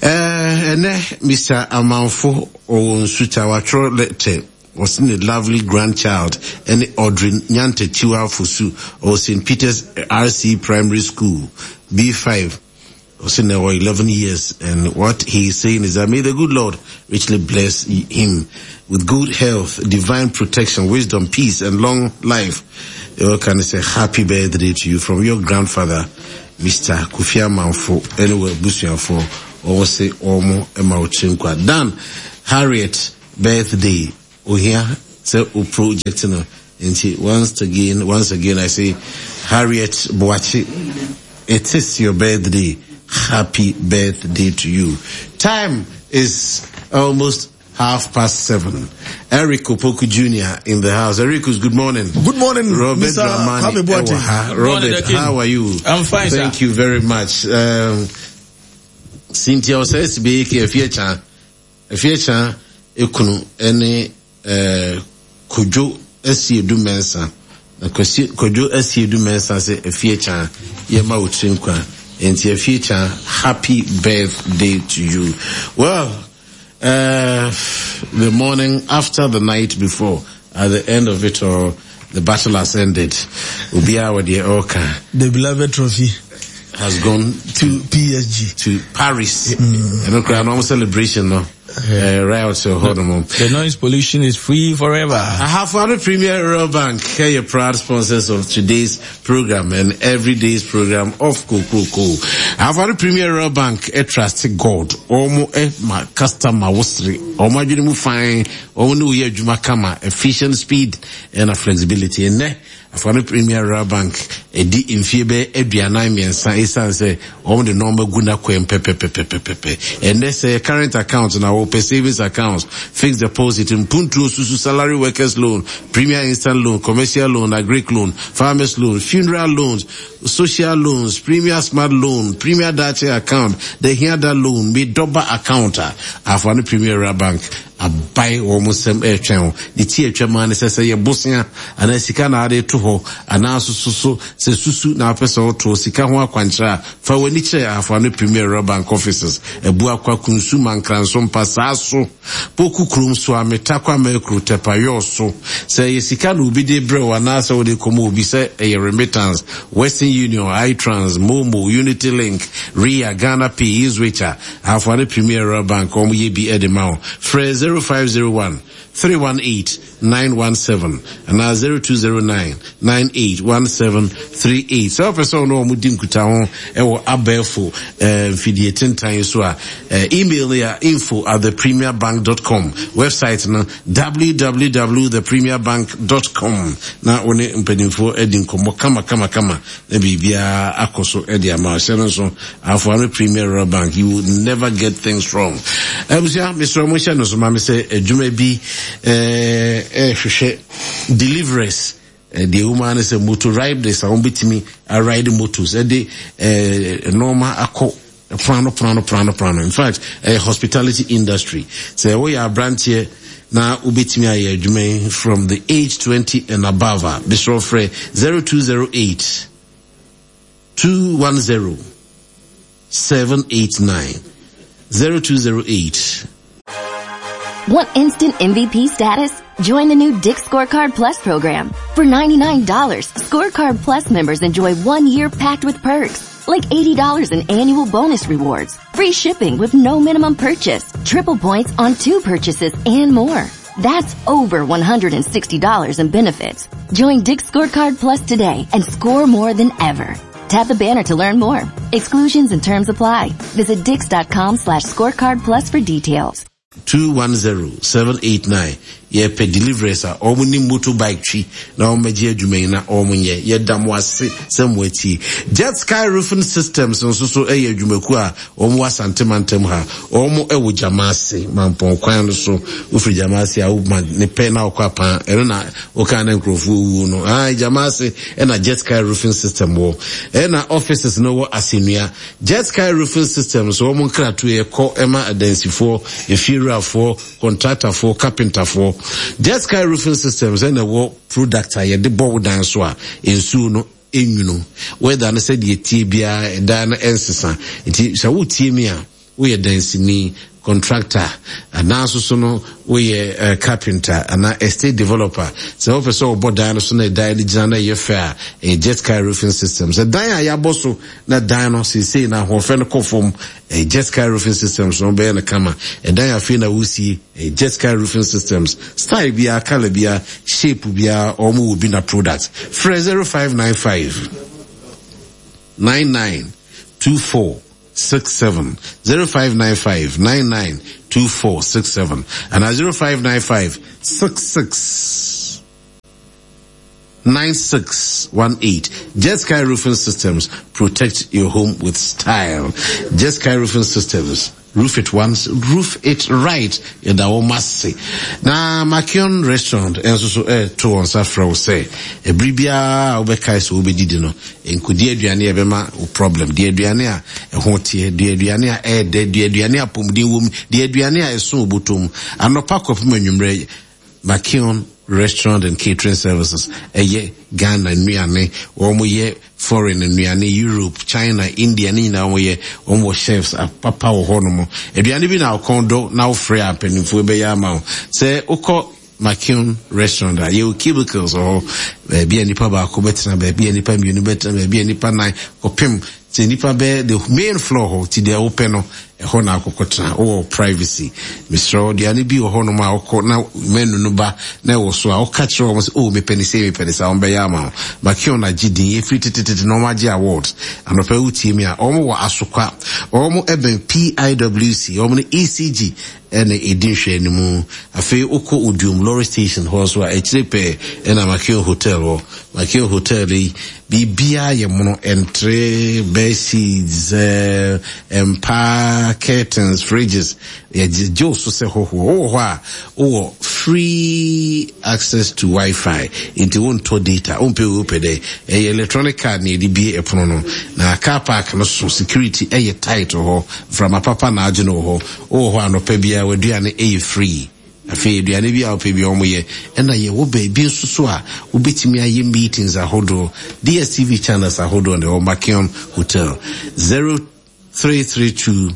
Ɛnɛ Mr. Amanfo ɔwɔ Nsuta watwerɛ letter ɔse ne lovely grandchild ɛne Audrey Nyantakyiwa Fosu ɔwɔ St. Peter's RC Primary School B5. Ɔse na ɔwɔ 11 years, and what he is saying is that may the good Lord richly bless him with good health, divine protection, wisdom, peace, and long life. You can say happy birthday to you from your grandfather, Mr. Kofi Amanfo, anyway, Busuafo, ɔwɔ se ɔmo ɛma ɔkyerɛ nkwa. Dan, Harriet, birthday. Ohia sɛ o project no nti once again once again I say Harriet Boakye it is your birthday happy birthday to you. Time is almost 7:30. Eric Opoku Jr. in the house. Eric, good morning. Good morning, Robert Mr. Dramani. Kwame Boateng. Ewaha. Good morning, Robert, Akin. how are you? I'm fine, sir. Thank you very much. Cynthia Osei Sibeke, Efiecha, Efiecha Ekunu, ene Kojo Asiedu Mensah. Na Kojo Asiedu Mensah se Efiecha yema otrinkwa. Enti Efiecha, happy birthday to you. Well, the morning after the night before, at the end of it all, the battle has ended. Obiara wɔ deɛ ɔreka. The beloved trophy has gone to PSG. To Paris. And okay, normal celebration, no. Right out to hold on. The noise pollution is free forever. Ahafo Premier Rural Bank, here your proud sponsors of today's program and every day's program of Kokroko. Ahafo Premier Rural Bank, a trust God. Omo e ma customer wosri. Omo adwene mu fine. Omo ne wo adwuma kama, efficient speed and a flexibility. And ne Ahafo Premier Rural Bank, edi mfie be aduanan mmiɛnsa esan sɛ wɔn de nneɛma gu n'akwan pɛpɛpɛpɛpɛ. Ɛnɛ sɛ current account na wɔpɛ savings account, fixed deposit, mpuntuo susu, salary workers loan, premier instant loan, commercial loan, agric loan, farmers loan, funeral loans, social loans, premier smart loan, premier dache account, the hiada loan, medoba account a Ahafo Premier Rural Bank abae wɔn nsɛm ɛretwɛn wo. Ne ti atwa maa ne sɛ sɛ yɛ bosea anaa sika na ade to hɔ anaa soso so sɛ susu na apɛ sɛ ɔto sika ho akwankyerɛ a fa w'ani kyerɛ Ahafo Premier Rural Bank offices Abuakwa, Kunsu, Mankranso, Mpasaa so, Poku kurom so, Ametakwa, Makuru, Tepa, Yɔɔ so. Sɛ ɛyɛ sika na obi de brɛ wo anaasɛ wode kɔma obi sɛ ɛyɛ remittance, Western Union, iTrans, Momo, Unity Link, Ria, Ghana Pay, eZwitch a Ahafo Premier Rural Bank wɔn yɛ bi de ma wo. Frɛ 0501 318 917 anaa 0209 981738. Sɛ wopɛ sɛ ɔne wɔn di nkutaho wɔ abɛɛfo mfidie tentan so a, email no yɛ info@thepremierbank.com, website no www.thepremierbank.com na wo ne mpanimfoɔ adi nkɔmmɔ kama kama kama na biribiara akɔ so de ama. Hyɛ no nso, Ahafo Premier Rural Bank, you will never get things wrong. Abusua, mesrɛ mo hyɛ no so ma me sɛ adwuma bi ɛhwehwɛ deliverers. Deɛ ɛwɔ mu ara ne sɛ motor riders a wɔbɛtumi aride motos ɛde nneɛma akɔ prano prano prano prano. In fact, ɛyɛ hospitality industry. Sɛ woyɛ aberanteɛ na wobɛtumi ayɛ adwuma yi from the age 20 and above a, mesrɛ frɛ 0208 210 789 0208. Want instant MVP status? Join the new Dick's Scorecard Plus program. For $99, Scorecard Plus members enjoy 1 year packed with perks, like $80 in annual bonus rewards, free shipping with no minimum purchase, triple points on 2 purchases, and more. That's over $160 in benefits. Join Dick's Scorecard Plus today and score more than ever. Tap the banner to learn more. Exclusions and terms apply. Visit dicks.com/scorecard plus for details. 210 789 yɛpɛ deliverers a wɔn ne motorbike twi na wɔn bɛgye adwuma yi na wɔn nyɛ. Yɛda mo ase sɛ mo akyi. Jet Sky Roofing Systems nso so yɛ adwumakuo a wɔn wɔ Asante mantam ha. Wɔn wɔ Gyamaase Mampɔn kwan no so. Wofiri Gyamaase a woma ne pɛ na wɔkɔ apan ɛno na wɔka na nkurɔfoɔ wuo no. Gyamaase ɛna Jet Sky Roofing System wɔ. Ɛna offices no wɔ Asennua. Jet Sky Roofing Systems wɔn nkratoɔ ɛkɔ ɛma adansifoɔ, efiewurafoɔ, contractorfoɔ, carpenterfoɔ. Jet Sky Roofing Systems ɛna ɛwɔ product a yɛde bɔ wo dan so a nsuo no enwunu. Weather no sɛdeɛ tie biara ɛdan no ɛnsesa. Nti sɛ wotie mi a woyɛ dansini, contractor, anaa nso so no woyɛ carpenter anaa estate developer. Sɛ wopɛ sɛ wɔbɔ dan no so na dan no gyina na ɛyɛ fɛ a, ɛyɛ Jet Sky Roofing Systems. Sɛ dan a yɛabɔ so na dan no seesei na ahoɔfɛ no kɔ fam, ɛyɛ Jet Sky Roofing Systems na wɔbɛyɛ no kama. Ɛdan afei na wosie, ɛyɛ Jet Sky Roofing Systems. Style biara, color biara, shape biara, wɔn wɔ bi na product. Frɛ 0595 99 24 67 0595 99. 2467 anaa 0595 66 9618. Jet Sky Roofing Systems protect your home with style. Jet Sky Roofing Systems roof it once, roof it right. Yɛda wɔn ase. Na Makion Restaurant nso so ɛreto wɔn nsa frɛ wo sɛ ɛbere biara a wobɛkae sɛ wobɛdidi no, nkɔdi aduane a ɛbɛma wo problem. Di aduane a ɛho teɛ, di aduane a ɛyɛ dɛ, di aduane a apɔmuden wom, di aduane a ɛso obotom. Anɔpa kɔpem anwummerɛ, Makion Restaurant and Catering Services ɛyɛ Ghana nnuane, wɔn yɛ foreign nnuane, Europe, China, India ne nyinaa wɔn yɛ, wɔn wɔ chefs apapa wɔ hɔ nom. Aduane bi na ɔkɔn dɔ na wofrɛ a mpanimfoɔ bɛyɛ ama wo. Sɛ wokɔ Makion Restaurant a, yɛwɔ cubicles wɔ hɔ, baabi a nipa baako bɛtena, baabi a nipa mmienu bɛtena, baabi a nipa nan kɔpem sɛ nipa bɛyɛ the main floor hɔ, ti deɛ wopɛ no ɛhɔ na akɔkɔ tena, wowɔ privacy. Mesrɛ wo, aduane bi wɔ hɔnom a wokɔ na menu no ba na ɛwɔ so a, woka kyerɛ wɔn sɛ, oh, mepɛ ne sei, mepɛ ne saa, wɔn bɛyɛ ama wo. Makion agye din, ɛfiri tetetete na wɔn agye awards. Anɔpa yi wotie mi a, wɔn wɔ Asokwa, wɔn ɛbɛn PIWC, wɔn ne ECG ɛna ɛdi nhwɛanimu. Afei wokɔ Oduom lorry station hɔ nso a, akyire pɛɛ ɛna Makion Hotel wɔ. Makion Hotel yi, biribiara yɛ mono, ntere, bed sheets, mpa, curtains, fridges, yɛgye wo so sɛ hɔhoɔ. Wowɔ hɔ a, wowɔ free access to Wi-Fi, nti wontɔ data, wompɛ wei wopɛ dɛ. Ɛyɛ electronic card na yɛde bue ɛpono no. Na car park no so, security ɛyɛ tight wɔ hɔ, mframa papa na agye no wɔ hɔ. Wowɔ hɔ anɔpa biara w'aduane yɛ free. Afei aduane bi a wopɛ biara wɔyɛ. Ɛna yɛwɔ baabi nso so a wobɛtumi ayɛ meetings ahodoɔ. DSTV channels ahodoɔ na ɛwɔ Makion Hotel. 0332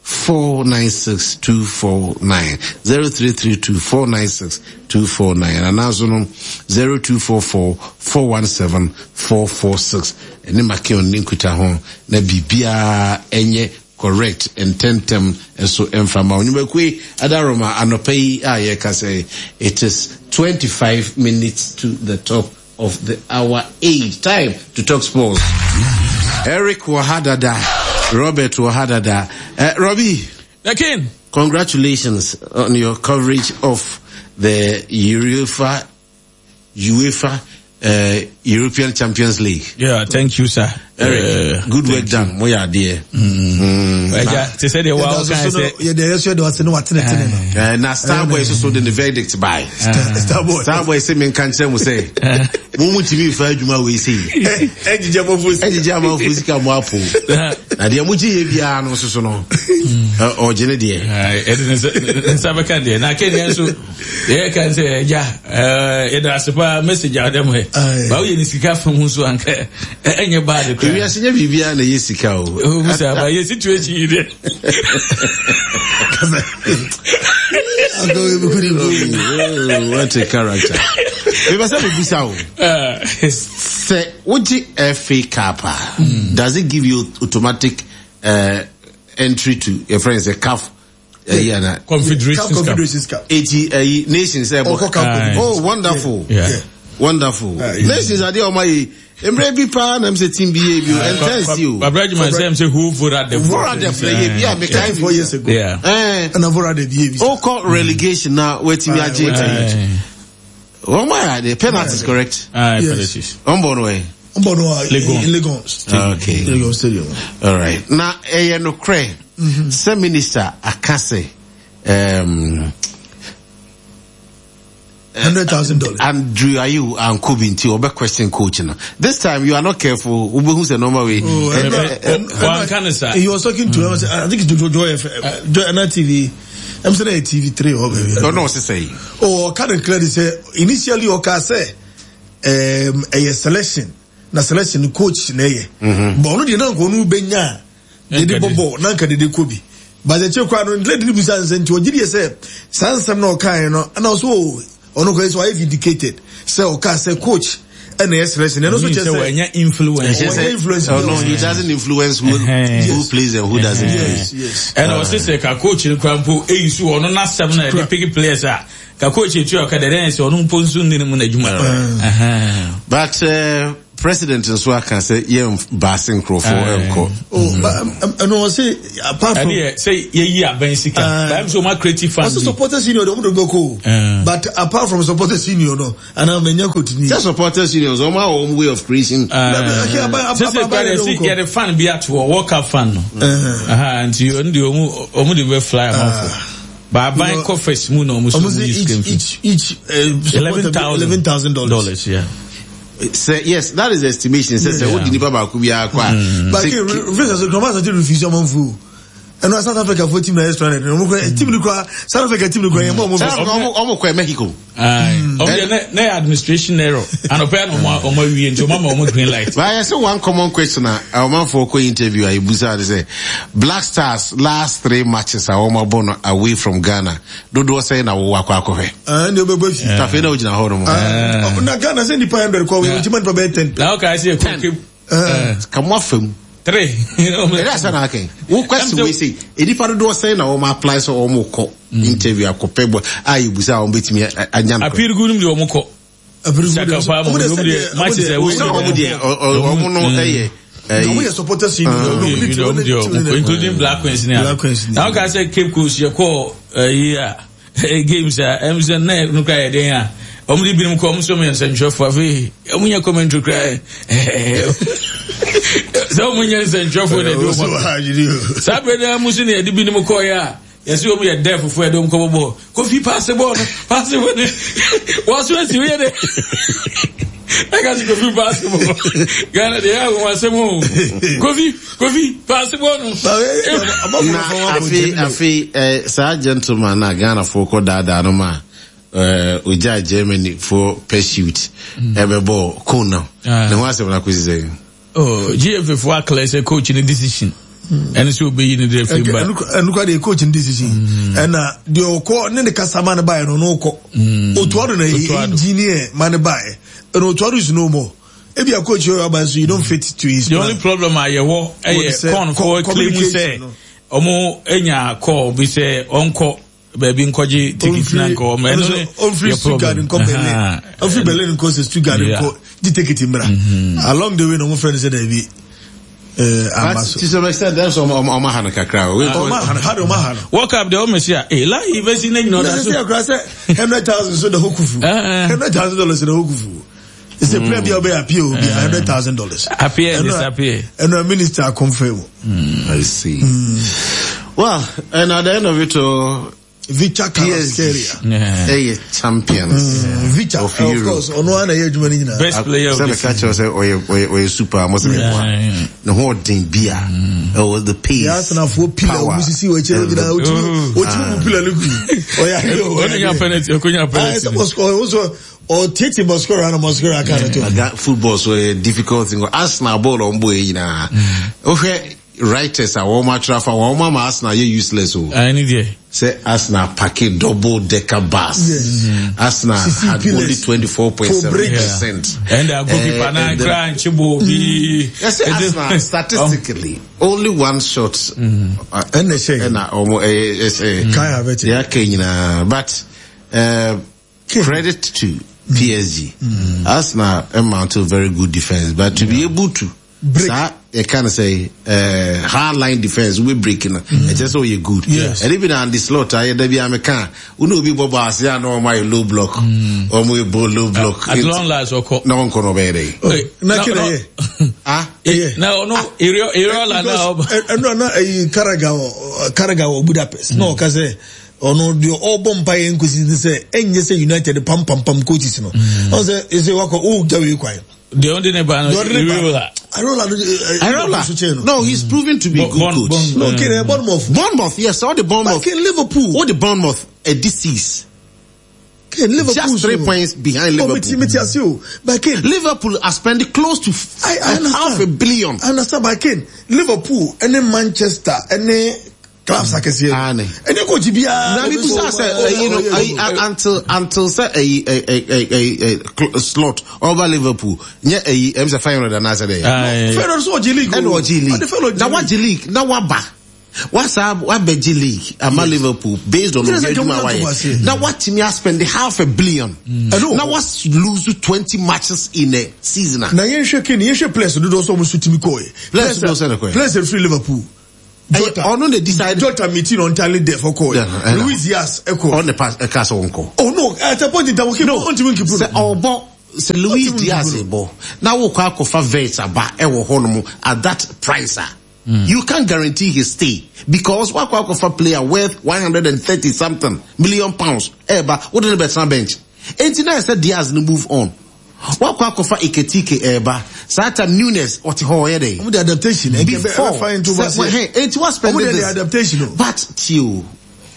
496 249 0332 496 249 anaa no 0244 417 446 ɛne Makion ne nkutaho na biribiara ɛnyɛ correct ntɛntɛm nso mfa ma wo. Nnwumakuo yi adaworoma anɔpa yi a yɛreka sɛ it is 25 minutes to the top of the hour 8 time to talk sports. Eric wɔ ha dada, Robert wɔ ha dada. Robbie. The King. Congratulations on your coverage of the UEFA UEFA uh, European Champions League. Yeah, thank you, sir. Eric, good work done. Mo yɛ adeɛ. Ɛja te sɛ deɛ wa ɔka sɛ. Yɛ deɛ yɛsɔ de wase ne wa tene tene no. Na Starboy soso de ne verdict by. Starboy. Starboy sɛ mi nka nkyɛn mo sɛ. Mo mu ntumi nfa adwuma wei se yi. Ɛgyigye amanfo sika. Ɛgyigye amanfo sika mo apo. Na deɛ mo gye yɛ biara no soso no. Ɔgye ne deɛ. Ɛde ne nsa bɛka deɛ na kɛ deɛ nso. Yɛ kan sɛ ɛgya yɛda ase paa message a ɔdɛm hɛ ba woyɛ ne sika fa ho so anka ɛnyɛ bad koraa. Ewiase nyɛ biribiara na ɛyɛ sika o. O musa ba yɛ situation yi dɛ. What a character. Mebɛ sɛ mebisa o. Sɛ wogye FA Cup a, does it give you automatic uh, entry to your friends, a CAF ɛyi ana. Confederations Cup. Eti ɛyi nations ɛbɔ. Ɔkɔ Cup. Oh wonderful. Yeah. Yeah. Wonderful. Uh, yeah. Nations adeɛ ɔma yi mmerɛ bi paa na m sɛ team bi yɛ bi o ɛntɛnsi o. Babra Juma sɛ m sɛ who voted the. Voted the play yɛ bi a meka yi. 4 years ago. Yeah. Ɛna voted the yɛ bi. Okɔ relegation na watumi agye. Wɔn ayɛ adeɛ penalties correct. Ah penalties. Wɔn bɔ no ɛ. Wɔn bɔ no a Legon. Okay. Legon stadium. All right. Na ɛyɛ nokorɛ sɛ minister aka sɛ. $100,000. Andrew Ayew ankɔ bi nti ɔbɛ question coach no. This time you are not careful. Wobɛhu sɛ normal way. Wanka ne saa. He was talking to mm. I think it's Joy FM, Joy TV. I'm saying TV3 or baby. No, no, say. Oh, kind of clearly say initially ɔka sɛ ɛyɛ selection na selection coach na ɛyɛ. But ɔno deɛ na nka ɔno bɛnya a dede bɔ bɔɔl na nka dede kɔ bi. But akyire koraa no lady no bisa nsɛ nti ɔgye deɛ sɛ saa nsɛm na ɔkaeɛ no ɛna ɔso o ɔno kɔ sɛ ɔayɛ vindicated sɛ ɔka sɛ coach ɛna ɛyɛ selection ɛno nso kyerɛ sɛ wɔnyɛ influence wɔnyɛ influence oh, no he doesn't influence who, yes. who plays and who doesn't play yes, yes. ɛna ɔsɛ sɛ ka coach no kora mpo ɛyi so ɔno n'asɛm na ɛde pick players a ka coach etu a ɔka dɛ dɛn sɛ ɔno mpo nso nni ne mu n'adwuma but. President nso aka sɛ yɛn baase nkurɔfoɔ nkɔ. Ɛno ɔse apart from. Ɛne sɛ yɛyi abɛn sika. Báyìí sɛ ɔma creative fund. Ɔse supporters union de ɔmo de bɛkɔ o. But apart from supporters union no ana mɛ nya coach ni. Sɛ supporters union so ɔmo awɔ ɔmo way of creation. Sɛ kura de yɛde fan bi ato hɔ World Cup fan no. Nti ɔno de ɔmo ɔmo de bɛ fly amanfo. Baaban kɔ first mu na ɔmo so ɔmo yi sika fi. Each each $11,000. Yeah. Sɛ yes that is the estimation sɛ sɛ wodi nipa baako biara kɔ a. But visa so kɔmɔ asante refuse ɔmo nfu ɛnu South Africa fo team na yɛ stranded ɔmo kɔ team ni kura South Africa team ni kura yɛn mɔ ɔmo visa. Ɔmo kɔ Mexico. Ɔmo deɛ ne yɛ administration error anɔpɛ na ɔmo ɔmo awie nti ɔmo ama ɔmo green light. But ayɛ sɛ one common question a ɔmanfoɔ kɔ interview a ebusa de sɛ Black Stars last three matches a wɔn abɔ no away from Ghana dodoɔ sɛn na wowɔ akɔ akɔhwɛ. Ɛn de ɔbɛbɔ fi. Tafei na ogyina hɔ nom. Na Ghana sɛ nipa 100 kɔ wei nti ma nipa bɛyɛ 10. Na ɔka sɛ ɛkɔ Ten. Ka mo afa mu. Three. Ɛdɛ asa na akɛn. Wo kwasi wei sɛ nipa dodoɔ sɛn na wɔn apply sɛ wɔn kɔ interview akɔpɛ bɔ a yɛbusa a wɔn bɛtumi anya no. Apirigu nom deɛ wɔn kɔ. Saka paa mo wɔn deɛ matches ɛwɔ. Sɛ wɔn deɛ wɔn no ɛyɛ. Wɔn yɛ supporters union. Including Black Queens ni a. Black Queens ni. Na wɔn ka sɛ Cape Coast yɛ kɔ ɛyi a games a ɛm sɛ na ɛno kora yɛ den a wɔn de binom kɔ wɔn nso yɛ nsɛntwerɛfoɔ afei wɔn nyɛ commentary kora sɛ wɔn nyɛ nsɛntwerɛfoɔ na ɛde wɔn saa bere na mu nso na yɛde binom kɔɔ yɛ a. Yɛsi wɔn yɛ dɛ fufuo yɛde wɔn kɔ bɔbɔ kofi paase bɔɔl no paase bɔɔl no wɔn so esi yɛ dɛ ɛka si kofi paase bɔɔl Ghana de yɛ ahoma asɛm o kofi kofi paase bɔɔl no. Na afei afei ɛ saa gentleman na Ghana fo kɔ daadaa no ma ɛɛ ogya Germany fo pursuit ɛbɛbɔ kon no ne ho asɛm na kosi sɛ. Oh, GFA fo aclear sɛ coach ne decision. Ɛne sɛ obeyi ne de afiri ba. Ɛnu kura deɛ coach ne decision. Ɛna deɛ ɔkɔ ne ne kasa ma ne ba yɛ no ɔno kɔ. Otuado na engineer ma ne ba yɛ. Ɛna Otuado is no more. Ebi a coach yɛ ɔba nso you don't fit to his The plan. only problem a yɛwɔ ɛyɛ kɔn fo claim sɛ ɔmo enya call bi sɛ ɔnkɔ. baabi nkɔgye ticket na nkɔ ɔmo ɛno ne ɔmfiri Stuttgart nkɔ Berlin ɔmfiri Berlin nkɔ sɛ Stuttgart nkɔ gye ticket mmra mhm. along the way na ɔmo frɛ no sɛ daabi eh, ama so. To some extent, that's ɔmo ɔmo ha no kakra. Ɔmo ha no ha de ɔmo ha no. World Cup de ɔmo si a eh lahi bɛsi ne nyina ɔda so. Na sɛ akura sɛ $100,000 so da hɔ kufu. $100,000 da hɔ kufu. It's a player bi a ɔbɛyɛ appear obi $100,000. Appear and disappear. Ɛnna minister confirm. I see. Well, and at the end of it all, Vicha Kvaratskhelia. Ɛyɛ champions. Vicha, of course. Ɔno ara na ɛyɛ adwuma no nyinaa. Best player of the season. Sɛ meka kyerɛ sɛ ɔyɛ ɔyɛ ɔyɛ super mo sɛ meboa. Ne ho ɔden bi a. Ɛwɔ the pace. Yɛ asenafoɔ pila ɔmo sisi wɔ akyire nyinaa otumi otumi bu pila no gu. Ɔyɛ adeɛ o. Ɔnya penalty ɔkonya penalty. Ɛsɛ mɔsikɔ ɔsɔ ɔtete mɔsikɔ na mɔsikɔ aka no to. Aga football so yɛ difficult thing. Arsenal ball ɔmo bɔ yɛ nyinaa. Wohwɛ writers a wɔn atwerɛ afa wɔn ama Arsenal yɛ useless o. Ɛne deɛ. Sɛ Arsenal pake double decker bus. Yes. Arsenal had only 24.7%. And the goalkeeper na kra nchebo bi. Yes, Arsenal statistically only one shot. Ɛna ɛhyɛ. Ɛna ɔmo ɛyɛ ɛsɛ. Kai Havertz. Yɛ aka nyinaa but credit to PSG. Arsenal mount a very good defense but to be able to break. Saa yɛka no sɛ eh, hard line defense wobɛ break no ɛkyɛ sɛ ɔyɛ good ɛne bi na Andy Slot ayɛ da bi a meka a wo ne obi bɔ bɔ ase a na ɔma yɛ low block ɔmo yɛ bɔ low block At long last ɔkɔ. na ɔnkɔ no ɔbɛyɛ dɛn Na kí na yɛ. ah Na ɔno Iriola na ɔba. Ɛnu na ɛyi Karaga wɔ Karaga wɔ Budapest na ɔka sɛ ɔno deɛ ɔbɔ mpa yɛ nkosi ne sɛ ɛnyɛ sɛ United pampampam coaches no. Ɔn sɛ ɛsɛ wakɔ o gya wei kwan. Deɛ ɔde ne ba no Iriola. Iriola no Iriola no he's proven to be a good coach. No kere Bournemouth. Bournemouth yes all the Bournemouth. But Liverpool. All the Bournemouth a disease. Ken, Liverpool just 3 points behind Liverpool. Oh, meti ase o. But Ken, Liverpool are spending close to I understand. half a billion. I understand, but Ken, Liverpool, any Manchester, any clubs akɛseɛ. Ane. Ɛne coach biara. Na mi busa sɛ ɛyi no ɛyi until sɛ ɛyi ɛyi ɛyi slot over Liverpool nyɛ ɛyi ɛmi sɛ 500 anaasɛ dɛ. Feyenoord so ɔgye league. Ɛna ɔgye league. Na wagye league na waba. Wasa wabɛgye league ama Liverpool based on obi adwuma wayɛ. Na watumi aspend half a billion. Mm. Na was lose 20 matches in a season. Na yɛnhwɛ kene yɛnhwɛ players dodoɔ sɛ ɔmo so tumi kɔɛ. Players dodoɔ sɛ na kɔɛ. Players free Liverpool. Jota ɔno na decide. Jota meeting on entirely deaf ɔkɔɛ. Luis Diaz ɛkɔ. Ɔno na ɛka sɛ ɔnkɔ. Oh no, at a point in time, okay, no, ɔntumi nkipu. Sɛ ɔbɔ sɛ Luis Diaz bɔ na wokɔ akɔfa Wirtz aba ɛwɔ hɔ nom at that price a. Mm. You can't guarantee his stay because wakɔ akɔfa player worth 130 something million pounds ɛɛba wode ne bɛtena bench. Enti na ɛsɛ Diaz no move on. Wakɔ akɔfa Ekitike ɛɛba saa time Nunes ɔte hɔ ɔyɛ dɛ. Ɔmo de adaptation before sɛ enti wa spend this adaptation but tio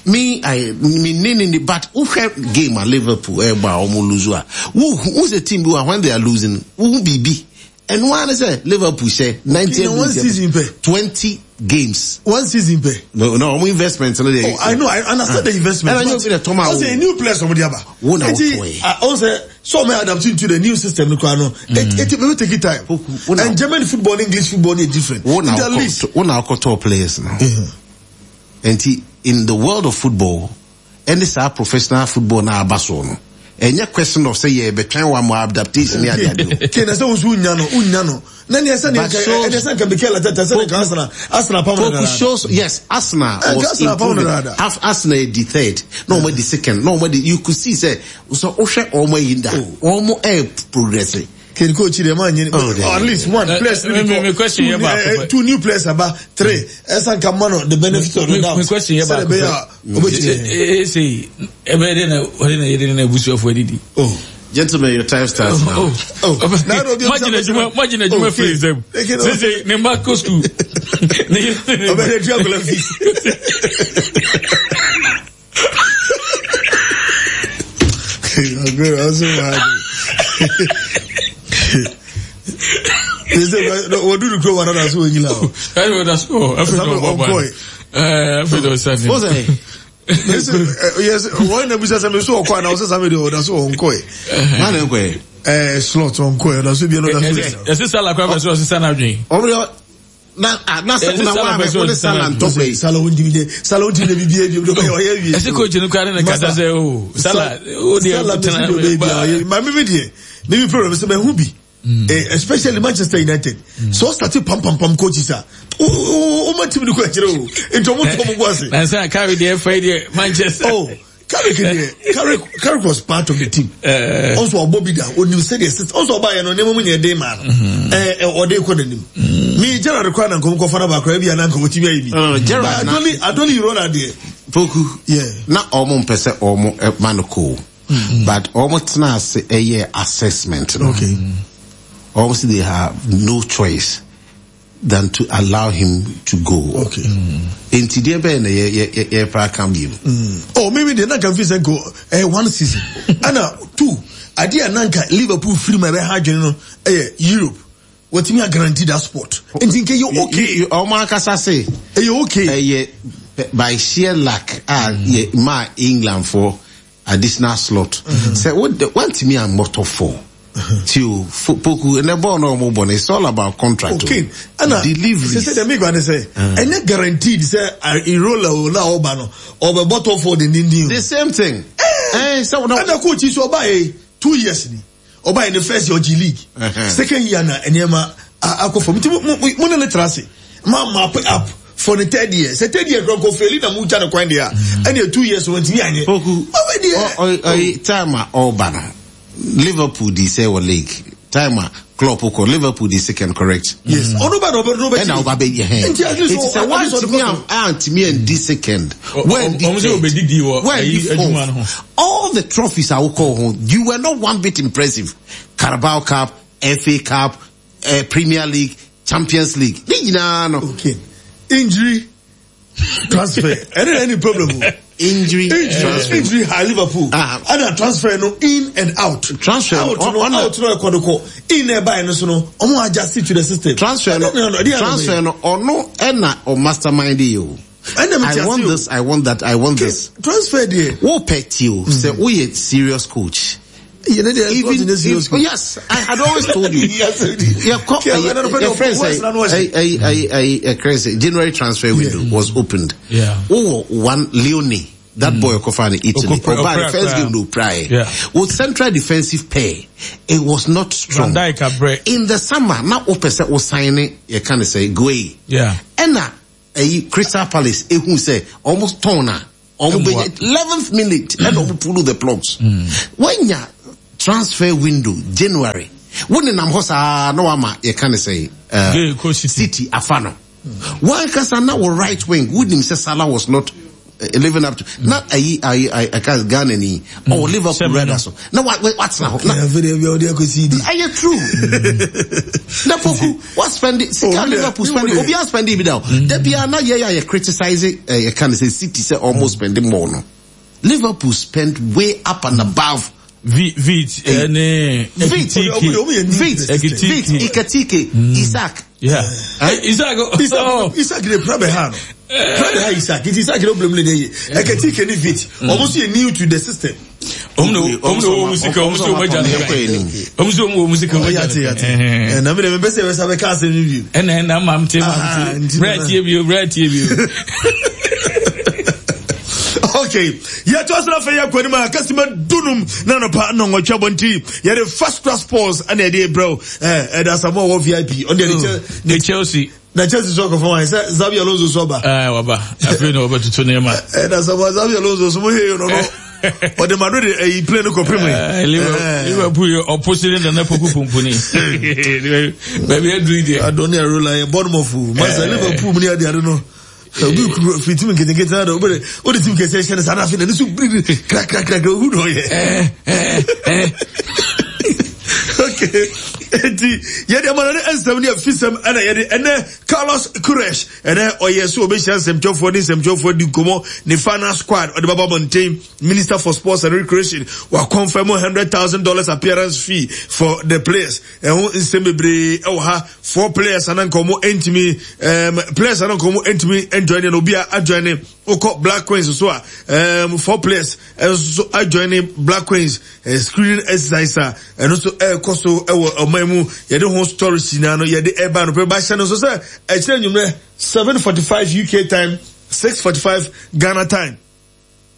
me I me ne ne but wohwɛ game a Liverpool ɛɛbɔ a ɔmo lose a wo wo sɛ team bi wa when they are losing wo hu biribi. Ɛno ara ne sɛ Liverpool hyɛ 90 one season pɛ. 20 games. One season pɛ. No, no, ɔmo investment no deɛ. Oh, I know, I understand the investment. Ɛna nye obi na tɔm a wo. Ɔsɛ new players ɔmo de aba. Wo na wotɔ yɛ. Ɔsɛ so ɔmo adapt into the new system no kora no. It it will take time. And German football and English football is different. Wo na wokɔ wo na wokɔtɔ players no. Nti in the world of football. Ɛne saa professional football no a aba soɔ no, ɛnyɛ question of sɛ yɛrebɛtwɛn wo ama adaptation ne adeade o. Kane na sɛ wo nso wonnya no, wonnya no. Na neɛ sɛ neɛ nka, ɛdeɛ sɛ nka Mikel Arteta sɛ nka Arsenal, Arsenal apam no dadaada. Shows, yes, Arsenal was improving. Arsenal adi third, na wɔn adi second, na wɔn adi, you could see sɛ, sɛ wohwɛ wɔn ayi da, wɔn ɛɛ progress. Kane coach deɛ maa nyini, oh, at least one players ni bi kɔ, two new players aba, three, ɛsan ka ma no the benefit of the doubt. Mi question yɛ baako pɛ. Ese ɛbɛyɛ dɛ na ɔde na yɛde ne abusuafo adidi. Oh. Gentlemen, your time starts now. Oh, oh. Imagine adwuma, imagine adwuma firi nsam. Sese ne mma kɔ sukuu. Ɔbɛyɛ dua akɔla fees. Wɔduru kurom anada so wɔnyina hɔ. Ɛyɛ ɔda so hɔ. Afei na ɔbɔ bɔ. Afei na ɔsa ne. Wọ́n Yes, wɔn na bisa sɛ mi so ɔkɔ ana ɔsɛ sami de ɔda so ɔnkɔ yɛ. Maa na nkɔ yɛ. Ɛɛ slot ɔnkɔ yɛ ɔda so bi ɔda so. Ɛsɛ sala kora bɛ so ɔsesa n'adwene. Ɔmo yɛ na ah na sɛ na wa bɛ ko ne sala ntɔkwa yi. Sala ontimi de sala ontimi de bibi ebi ebi ɔyɛ wie. Ɛsɛ coach no kura ne ne kasa sɛ o sala o deɛ sala mesi de ɔbɛ bi ɔyɛ maame mi deɛ ne mi problem sɛ mɛ hu bi. Eh, especially Manchester United. Mm. So start pam pam pam coaches a. O ma team no kɔ akyerɛ o. Nti ɔmo tɔ ɔmo gu ase. Na nsa carry deɛ fɛ deɛ Manchester. Oh. Carrick deɛ Carrick Carrick was part of the team. Ɔnso ɔbɔ bi da onim sɛdeɛ sisi ɔnso ɔba yɛ no nneɛma mu nyɛ den maa no. Ɛɛ ɔde kɔ n'anim. Mi Gerard kora na nkɔm kɔfa na baakora ebi a na nkɔm ti ayɛ bi. Gerard na Adoli Adoli Irola deɛ. Poku. Yeah. Na ɔmo mpɛ sɛ ɔmo ma no koo. But ɔmo tena ase ɛyɛ assessment no. Okay. Ɔmo si they have no choice than to allow him to go. Okay. Nti deɛ bɛyɛ na yɛ yɛ yɛ yɛ pra ka bi mu. Oh, me me deɛ nanka fi sɛ nko eh, one season. Ɛna two, adeɛ a nanka Liverpool firi mu a ɛbɛha adwene no ɛyɛ Europe. Wɔtumi a guarantee that spot. Nti nka ɛyɛ okay. Ɔmo ankasa se. Ɛyɛ okay. Ɛyɛ by sheer luck a yɛ maa England for additional slot. Sɛ wo de wantumi ammɔ top four. Ti o poku ɛnɛ bɔɔl na ɔmo bɔ no it's all about contract o. Okay ɛna Deliveries. sɛ sɛ deɛ mekura ne sɛ ɛnyɛ guaranteed sɛ Irola o na ɔba no ɔbɛbɔ top four dendenden o. The same thing. Ɛɛ sɛ wɔn. Ɛna coach yi so ɔba yɛ 2 years ni. Ɔbaa yɛ ne first year ɔgye league. Second year na nneɛma akɔ fam. Nti mo ne ne tra ase. Ma map up for the third year. Sɛ third year kura nkɔ feli na mo twa ne kwan deɛ a ɛna 2 years wɔn ntumi anyɛ. Poku Ɔbɛ deɛ. Ɔyi time a ɔba no Liverpool di sɛ wɔ league time a Klopp kɔ Liverpool di second correct. Yes. Ɔno ba na ɔbɛ ɔbɛ ɛna ɔba bɛ yɛ hɛn. Nti at least Nti sɛ wantumi antumi andi second wandi sɛ third ɔbɛdidi wɔ wandi ayi adwuma no ho. fourth all the trophies a wokɔ ho you were not one bit impressive Carabao Cup FA Cup eh, Premier League Champions League ne nyinaa no. Okay. Injury transfer. Ɛne na any problem o. Injury, Injury transfer. injury ha Liverpool. Ah. Ɛna transfer no in and out. Transfer no, out no ɔna- out no ɛkɔ no kɔ. In na ɛbaeɛ no so no ɔmo adjust to the system. Transfer no Ɛdeɛ na- ɛdeɛ na transfer no ɔno ɛna ɔ mastermind yi o. Ɛna mi ti I ase want o. this I want that I want this. Transfer deɛ. Wo pɛ ti o sɛ woyɛ serious coach. Even if, yes, I had always told you. yeah, your friend say, I, I, January transfer window yeah. was opened. Yeah. Oh, one Leone, that boy Okofani Italy. Oba, the first game no prior. Yeah. With central defensive pair, it was not strong. In the summer, now Opesa was signing, you can say, Guay. Yeah. Enna, Crystal Palace, who say, almost torn ɔmo bɛ 11th minute ɛna ɔmo pull the plugs. Wanya transfer window January wo nenam hɔ saa na wama yɛka ne sɛ City afa no. Wankasa na wɔ right wing wonim sɛ Salah was not living up to na ayi ayi ayi ɛka Ghana ni ɔwɔ Liverpool rɛda so na wa watena hɔ na ɛyɛ true na poku wa spend sika Liverpool spend obi a spend bi da o da bia na yɛ yɛ criticize yɛ ka ne sɛ City sɛ almost spend more no Liverpool spend way up and above. V Vit ɛne Vit Vit Vit Ikatike Isaac. Yeah. Isaac. Isaac Isaac de pra bɛ ha no. Pra bɛ ha Isaac. Nti Isaac de problem ne ye. Ekatike ni Vit. Ɔmo so yɛ new to the system. Ɔmo na ɔmo na ɔwɔ mu sika ɔmo sɛ ɔmo agya no ɔmo sɛ ɔmo wɔ mu sika ɔmo agya no. Ɛna mi de mi bɛ sɛ ɛbɛsa bɛ ka asɛm ni bi. Ɛna ɛna maa mi te maa mi te brɛ tie bi o brɛ tie bi o. Okay, yɛto asena afei yɛ akɔ anim a kasima dunum na anɔpa nnɔnwɔtwe abɔ nti yɛde first class sports ɛna yɛde brɛ ɛɛ ɛda asamoah wɔ vip ɔno deɛ ne Chelsea na Chelsea so akɔfa wɔn sɛ Xabi Alonso so aba. Ɛɛ waba afei na ɔbɛtoto nneɛma. Ɛda asamoah Xabi Alonso so mo hee no no ɔde Madrid ɛyi plane kɔ pem yi. Liverpool yɛ ɔposi ne nana poku pumpuni baabi aduru yi deɛ. Adoni Arola yɛ Bournemouth masa Liverpool mu ni ade ade no. Obi kuru firi tim nketenkete na de wode wode tim kɛseɛ hyɛ no saa na afei n'ani so biribiri krakrakrakra ohu na ɔyɛ. Okay, nti yɛde ama no ne nsɛm ne afisɛm ɛna yɛde ɛnɛ Carlos Queiroz ɛnɛ ɔyɛ so ɔbɛhyia nsɛmtwerɛfoɔ ne nsɛmtwerɛfoɔ di nkɔmmɔ ne final squad ɔde bɛba abɔnten. Minister for Sports and Recreation wa confirm $100,000 appearance fee for the players. Ɛho nsɛm bebree ɛwɔ ha. Four players anan ka wɔn ntumi players anan ka wɔn ntumi enjoy ne na obi a ajoin ne okɔ Black Queens so a four players nso ajoin ne Black Queens screening exercise a ɛno nso ɛrekɔ so ɛwɔ ɔman mu yɛde ho stories nyinaa no yɛde ɛba no pɛ ba hyɛ no nso sɛ ɛkyerɛ nwumrɛ 7:45 UK time 6:45 Ghana time.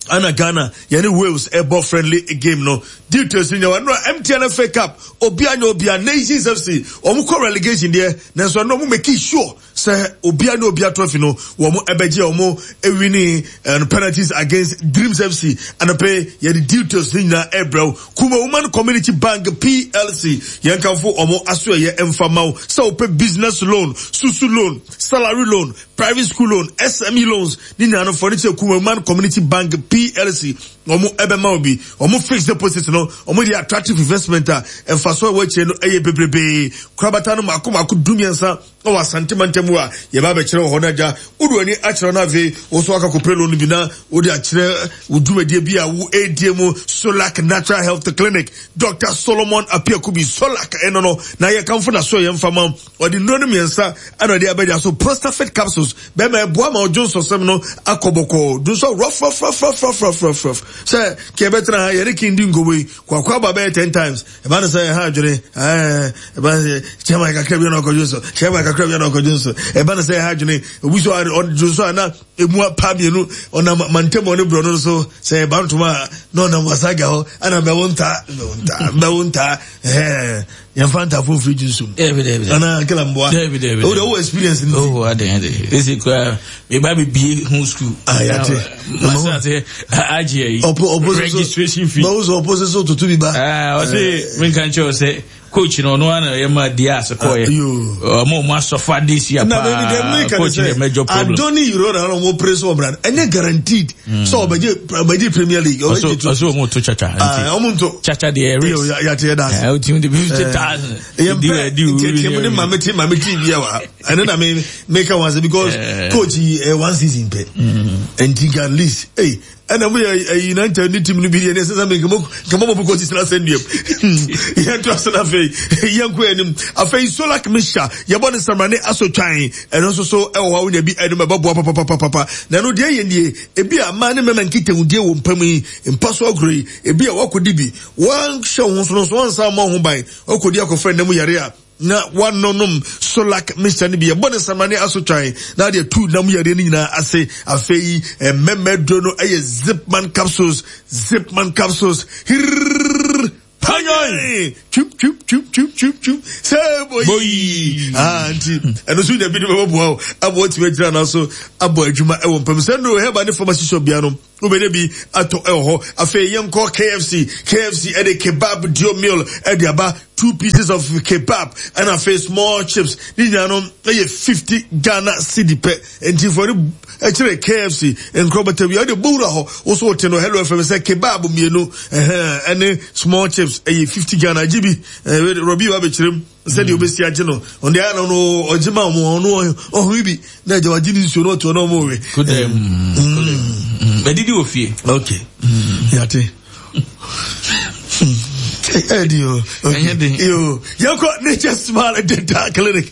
Ana Ghana yɛne Wales ɛbɔ friendly game no details ni nyawa nora MTN FA Cup obia nyɛ obia Nations FC wɔn kɔ relegation deɛ nanso ɛno wɔn make sure sɛ obia nyɛ obia trophy no wɔn ɛbɛgye wɔn ewini ɛno penalties against Dreams FC anɔpɛ yɛde details ni nyinaa ɛbrɛw Kuma Woman Community Bank PLC yɛn kanfo wɔn aso ɛyɛ mfamaw sɛ wɔpɛ business loan susu loan salary loan Private school loan, SME loans ne nyinaa no fɔ ne kyerɛ Kumaman Community Bank PLC wɔn ɛbɛma obi wɔn fixed deposit no wɔn de attractive investment a mfaso a ɛwɔ akyire no ɛyɛ bebrebee korabata no mako mako 13 wɔ Asante mantam a yɛba abɛkyerɛ wɔ hɔ no agya wode w'ani akyerɛ no afei wo so aka kɔpɛ loan bi na wode akyerɛ wo dwumadie bi a wo ɛredie mu Solac Natural Health Clinic Dr. Solomon Apiakubi Solac ɛno no na yɛkamfo na so yɛ mfama Ɔde nnuro no mmiɛnsa ɛna ɔde abɛgya so Prostafit capsules bɛrima ɛboa ma ɔdwo nsɔsɛm no akɔ bɔkɔɔ dwo nsɔ rɔfrɔfrɔfrɔfrɔfrɔfrɔf sɛ kɛ ɛbɛtena ha yɛne kin di nkɔmmɔ yi kwakwa aba bɛyɛ ten times ɛba no sɛ ɛha adwene ɛɛ ɛba no sɛ kyɛma kakra bi na ɔkɔdwo nsɔ kyɛma kakra bi na ɔkɔdwo nsɔ ɛba no sɛ ɛha adwene obi so ɔdwo nsɔ a na emu apa mmienu ɔnam mantam ɔne borɔno no so sɛ ɛba ntoma a na ɔnam wasaga hɔ ɛna mbɛwo ntaa mbɛwo ntaa mbɛwo ntaa ɛɛ yɛnfa ntaafo mfiri gye nsom anaa kela mboa o de wo experience nti oh ade ade esi kura me ba me bie ho school ah yate masa ase agye ayi registration fee ba wo so ɔpo so tutu bi ba ah ɔse me nka nkyerɛ sɛ coach no ɔno ana yɛ ma Diaz kɔɛ ɔmo ɔmo asɔfa this year paa coach yɛ major problem Adoni Yoro na ɔmo pere so ɔbra ɛnyɛ guaranteed sɛ ɔbɛgye ɔbɛgye Premier League ɔbɛgye to ɔso ɔmo to chacha ɔmo nto chacha deɛ risk yate yɛ daase ɛ ɔtumi de 50,000 yɛn pɛ ntiatia mu ne maame ti maame ti bi wa ɛne na me meka wɔn ase because coach yi one season pɛ nti at least. Ɛna mo yɛ ɛyi na nkyɛn ne team no bi deɛ ne ɛsɛ sɛ mi nkɛmɔ nkɛmɔ bɔ kɔ sisi asɛn duam. Yɛn to ase na afei yɛn kɔ anim. Afei Solak mixture yɛbɔ ne samrane asotwan ɛno nso so ɛwɔ hɔ a wonya bi ɛnum ɛbɛboa papapapapa. Na ɛno deɛ yɛ nie ebi a mmaa ne mmarima nkitahudie wɔ mpa mu yi mpa so agorɔ yi ebi a wakɔdi bi wanhyɛ wo ho so no nso wansan ammɔ ho ban wakɔdi akɔfa nna mu yare a na wanonom Solak mixture no bi ɛbɔ ne samane asotwan na ade atu nam yareɛ no nyinaa ase. Afei mmɛmma aduro no ɛyɛ Zipman capsules, Zipman capsules, hirrrr panyan twim twim twim twim twim twim sɛ boyi. Ah, nti ɛno nso nya bi de bɛbɔboa o ama watumi agyina no so abɔ adwuma ɛwɔ mpam sɛ no hɛba ne pharmacy shop bia no Wobɛnya bi atɔ wɔ hɔ. Afei yɛnkɔ KFC. KFC ɛde kebab duo meal ɛde aba. Two pieces of kebab ɛna afei small chips. Ne nyinaa no ɛyɛ 50 Ghana cedi pɛ. Nti fɔ ne ɛkyerɛ KFC nkorɔbata bi a wode bɔwura hɔ. Wo so wote no Hello FM sɛ kebab mmienu ɛhɛn ɛne small chips ɛyɛ 50 Ghana. Gye bi. Robbie wa bɛkyerɛ mu. Sɛdeɛ ɔbɛsi agye no ɔno deɛ ayɛ no ɔgye ma ɔmo ɔno ɔhome bi na agya wagye ne nsuo na ɔtoɔ na ɔmo we. Bɛdidi wɔ fie. Ok yate. Ɛdi o. Ɛnyɛ den. Yo yɛkɔ Nature Smile Dental Clinic.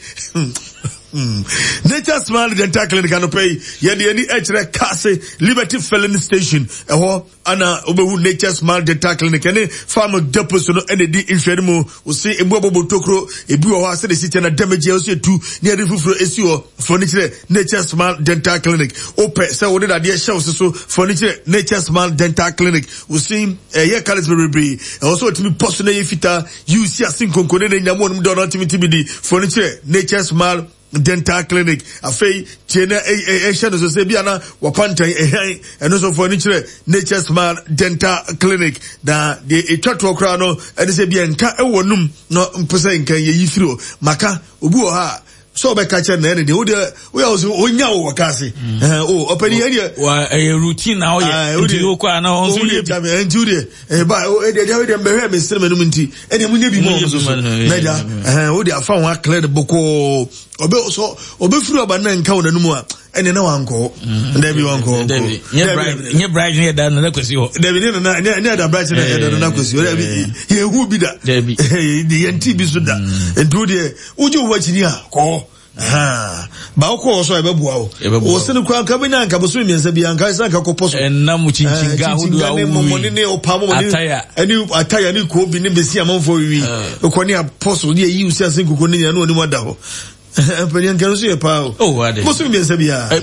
Nature Smile Dental Clinic anɔpɛ yi yɛde ani ɛkyerɛ Kase Liberty Filling Station ɛhɔ. Ana wobɛhu Nature's Smile Dental Clinic ɛne Farm Depot so no ɛna ɛdi nhwɛne mu. Wose ebu abɔbɔ tokuro, ebi wɔ hɔ a sɛdeɛ ɛsi kyɛ na damage a ɛsɛ etu ne ɛde foforɔ esi hɔ. Fa ani kyerɛ Nature's Smile Dental Clinic. Wopɛ sɛ wode dadeɛ hyɛ wo se so, fa ani kyerɛ Nature's Smile Dental Clinic. Wo se ɛyɛ colours bebrebe, ɛwɔ sɛ wɔtumi pɔ so na ɛyɛ fitaa, yi wo si ase nkonko ne ne nyam wɔnom dɔ no atumi tumi di. Fa ani kyerɛ Nature's Smile Dental Clinic. Afei tie na ɛhyɛ no so sɛ bi ana wapantan ɛhɛn ɛno nso fo ani kyerɛ Nature Smile Dental Clinic. Na deɛ ɛtwa toɔ koraa no ɛne sɛ bi nka ɛwɔ num na mpo sɛ nka yɛyi firi hɔ. Maka obi wɔ hɔ a sɛ ɔbɛka kyɛ na ɛne deɛ wodeɛ woyɛ wo sɛ ɔnya wo wɔ ka ase. O ɔpɛni ɛdeɛ. Wa ɛyɛ routine na ɔyɛ nti wokɔ a na ɔnso yɛ bi. Nti wodeɛ ɛba ɛdeɛ deɛ wodeɛ mbɛhwɛ me sere m'anum nti ɛdeɛ mo nyɛ bi mu ɔmo soso na gya ɛhɛn wode afa ho aklɛ no bɔkɔɔ ɔbɛ sɔ ɔbɛfiri aba na nka wɔn anum a ɛdeɛ na wankɔ mm. dabi wankɔ dabi nyɛ bride ne ɛda nana kwasi hɔ dabi ne nana ne ne ɛda bride ne ɛda nana kwasi hɔ dabi yɛn hu bi da dabi yɛn ti bi so da mm. nti wo deɛ wogye wo akyi ni a kɔɔ. Ba wokɔ hɔ so a ɛbɛboa wo. Wo sene koraa nka bɛnya nka bosome mmiɛnsa bi anka sɛ nka kɔpɔ so. Ɛnam kyinkyin ahodoɔ a wowi. Mɔmɔne ne ɔpa mɔmɔne ataya. Ɛne ataya ne koobi ne besi amanfoɔ wiwi. Wokɔ ne apɔ so ne ayi wo si ase nkuku ne nyina ne ɔnim ada hɔ. Mpanyin nka no so yɛ paa o. Oh, ade. Bosome mmiɛnsa biara.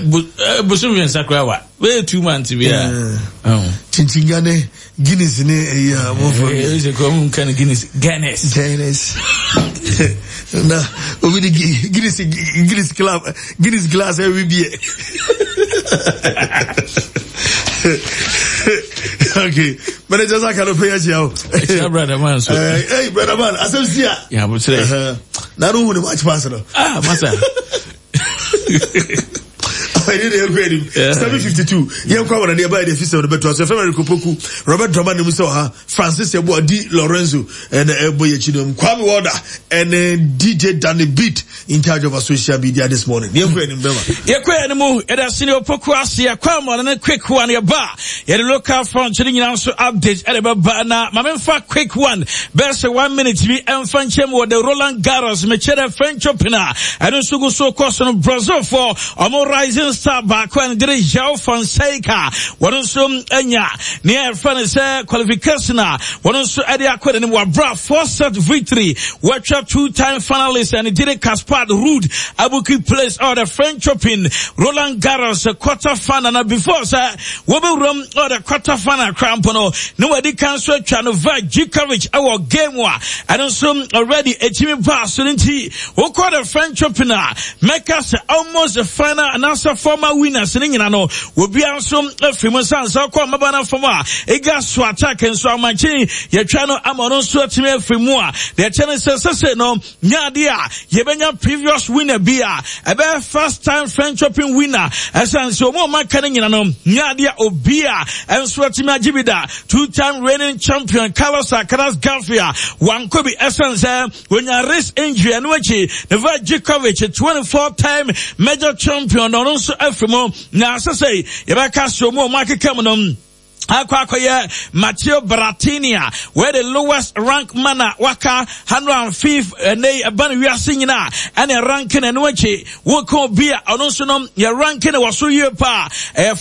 Bosome mmiɛnsa koraa wa. Bɛyɛ 2 months biara. Kyinkyin ne Guinness ne ɛyi a amanfoɔ wi. Ɛyɛ sɛ kɔn mu nka no Guinness. Guinness. Guinness. Na obi de Guinness Guinness club Guinness glass ɛwi biɛ. Okay. Manager Zaka no pay akyia o. Akyia brother man so. Hey, hey brother man, asɛm si a. Ya bo kyerɛ. Na no hu ne match pass no. Ah, masa. Ɛne deɛ ɛkɔ anim 752 yɛnkɔ awɔ nadeɛ ɛbaɛ deɛ fi sɛ no bɛtoa so ɛfɛ Eric Opoku Robert Drama nim sɛ ɔha Francis Yeboah Di Lorenzo ɛna ɛbɔ yɛ akyi nom Kwame Walder ɛne DJ Danny Beat in charge of our social media this morning yɛnkɔ anim bɛma yɛkɔ anim yɛde asene Opoku ase yɛkɔ amɔ ne quick one yɛba yɛde local front no nyinaa nso update ɛde bɛba na ma memfa quick one bɛyɛ sɛ one minute bi ɛmfa nkyɛm wɔ the Roland Garros mekyɛ dɛ French Open a ɛno nso gu so kɔ so no Brazilfoɔ ɔmo rising star baako a ne de João Fonseca wɔn nso anya nea ɛfrɛ no sɛ qualification a wɔn nso ɛde akɔ n'anim wabra four set victory wɔatwa two time finalist ɛne de Kaspar Ruud abuki place ɔwɔ the French Open Roland Garros quarter final na before sɛ wɔbɛwuram ɔwɔ the quarter final koraa mpo no ne wɔadi kan so atwa Novak Djokovic ɛwɔ game a ɛno nso already ɛtumi baa so no nti wokɔ the French Open a mɛka sɛ almost the final anaasɛ former winners ne nyina no obiara nso afiri mu nsa nsa kɔ mmaba no fam a ɛga so attack nso amakye yɛtwa no ama ɔno nso atumi afiri mu a deɛ ɛkyɛ no sɛ sɛsɛ no nyɛ adeɛ a yɛbɛnya previous winner bi a ɛbɛyɛ first time French Open winner ɛsiane sɛ ɔmu ɔma ka no nyina no nyɛ adeɛ a obi a ɛnso atumi agye bi da. Two time reigning champion Carlos Alcaraz Garcia wankɔ bi ɛsiane sɛ onya wrist injury. Ɛno akyi Novak Djokovic 24 time major champion na ɔno nso afiri mu na asɛ sɛ yɛbɛka sɛ ɔmu ɔma akeka mu no. Akɔ akɔyɛ Matteo Berrettini a wɔyɛ the lowest rank man a waka 105 ɛnɛ yi ɛba no wiase nyinaa ɛne ranking. Ɛno akyi woka obi a ɔno nso no yɛ ranking wɔ so yie paa, ɛyɛ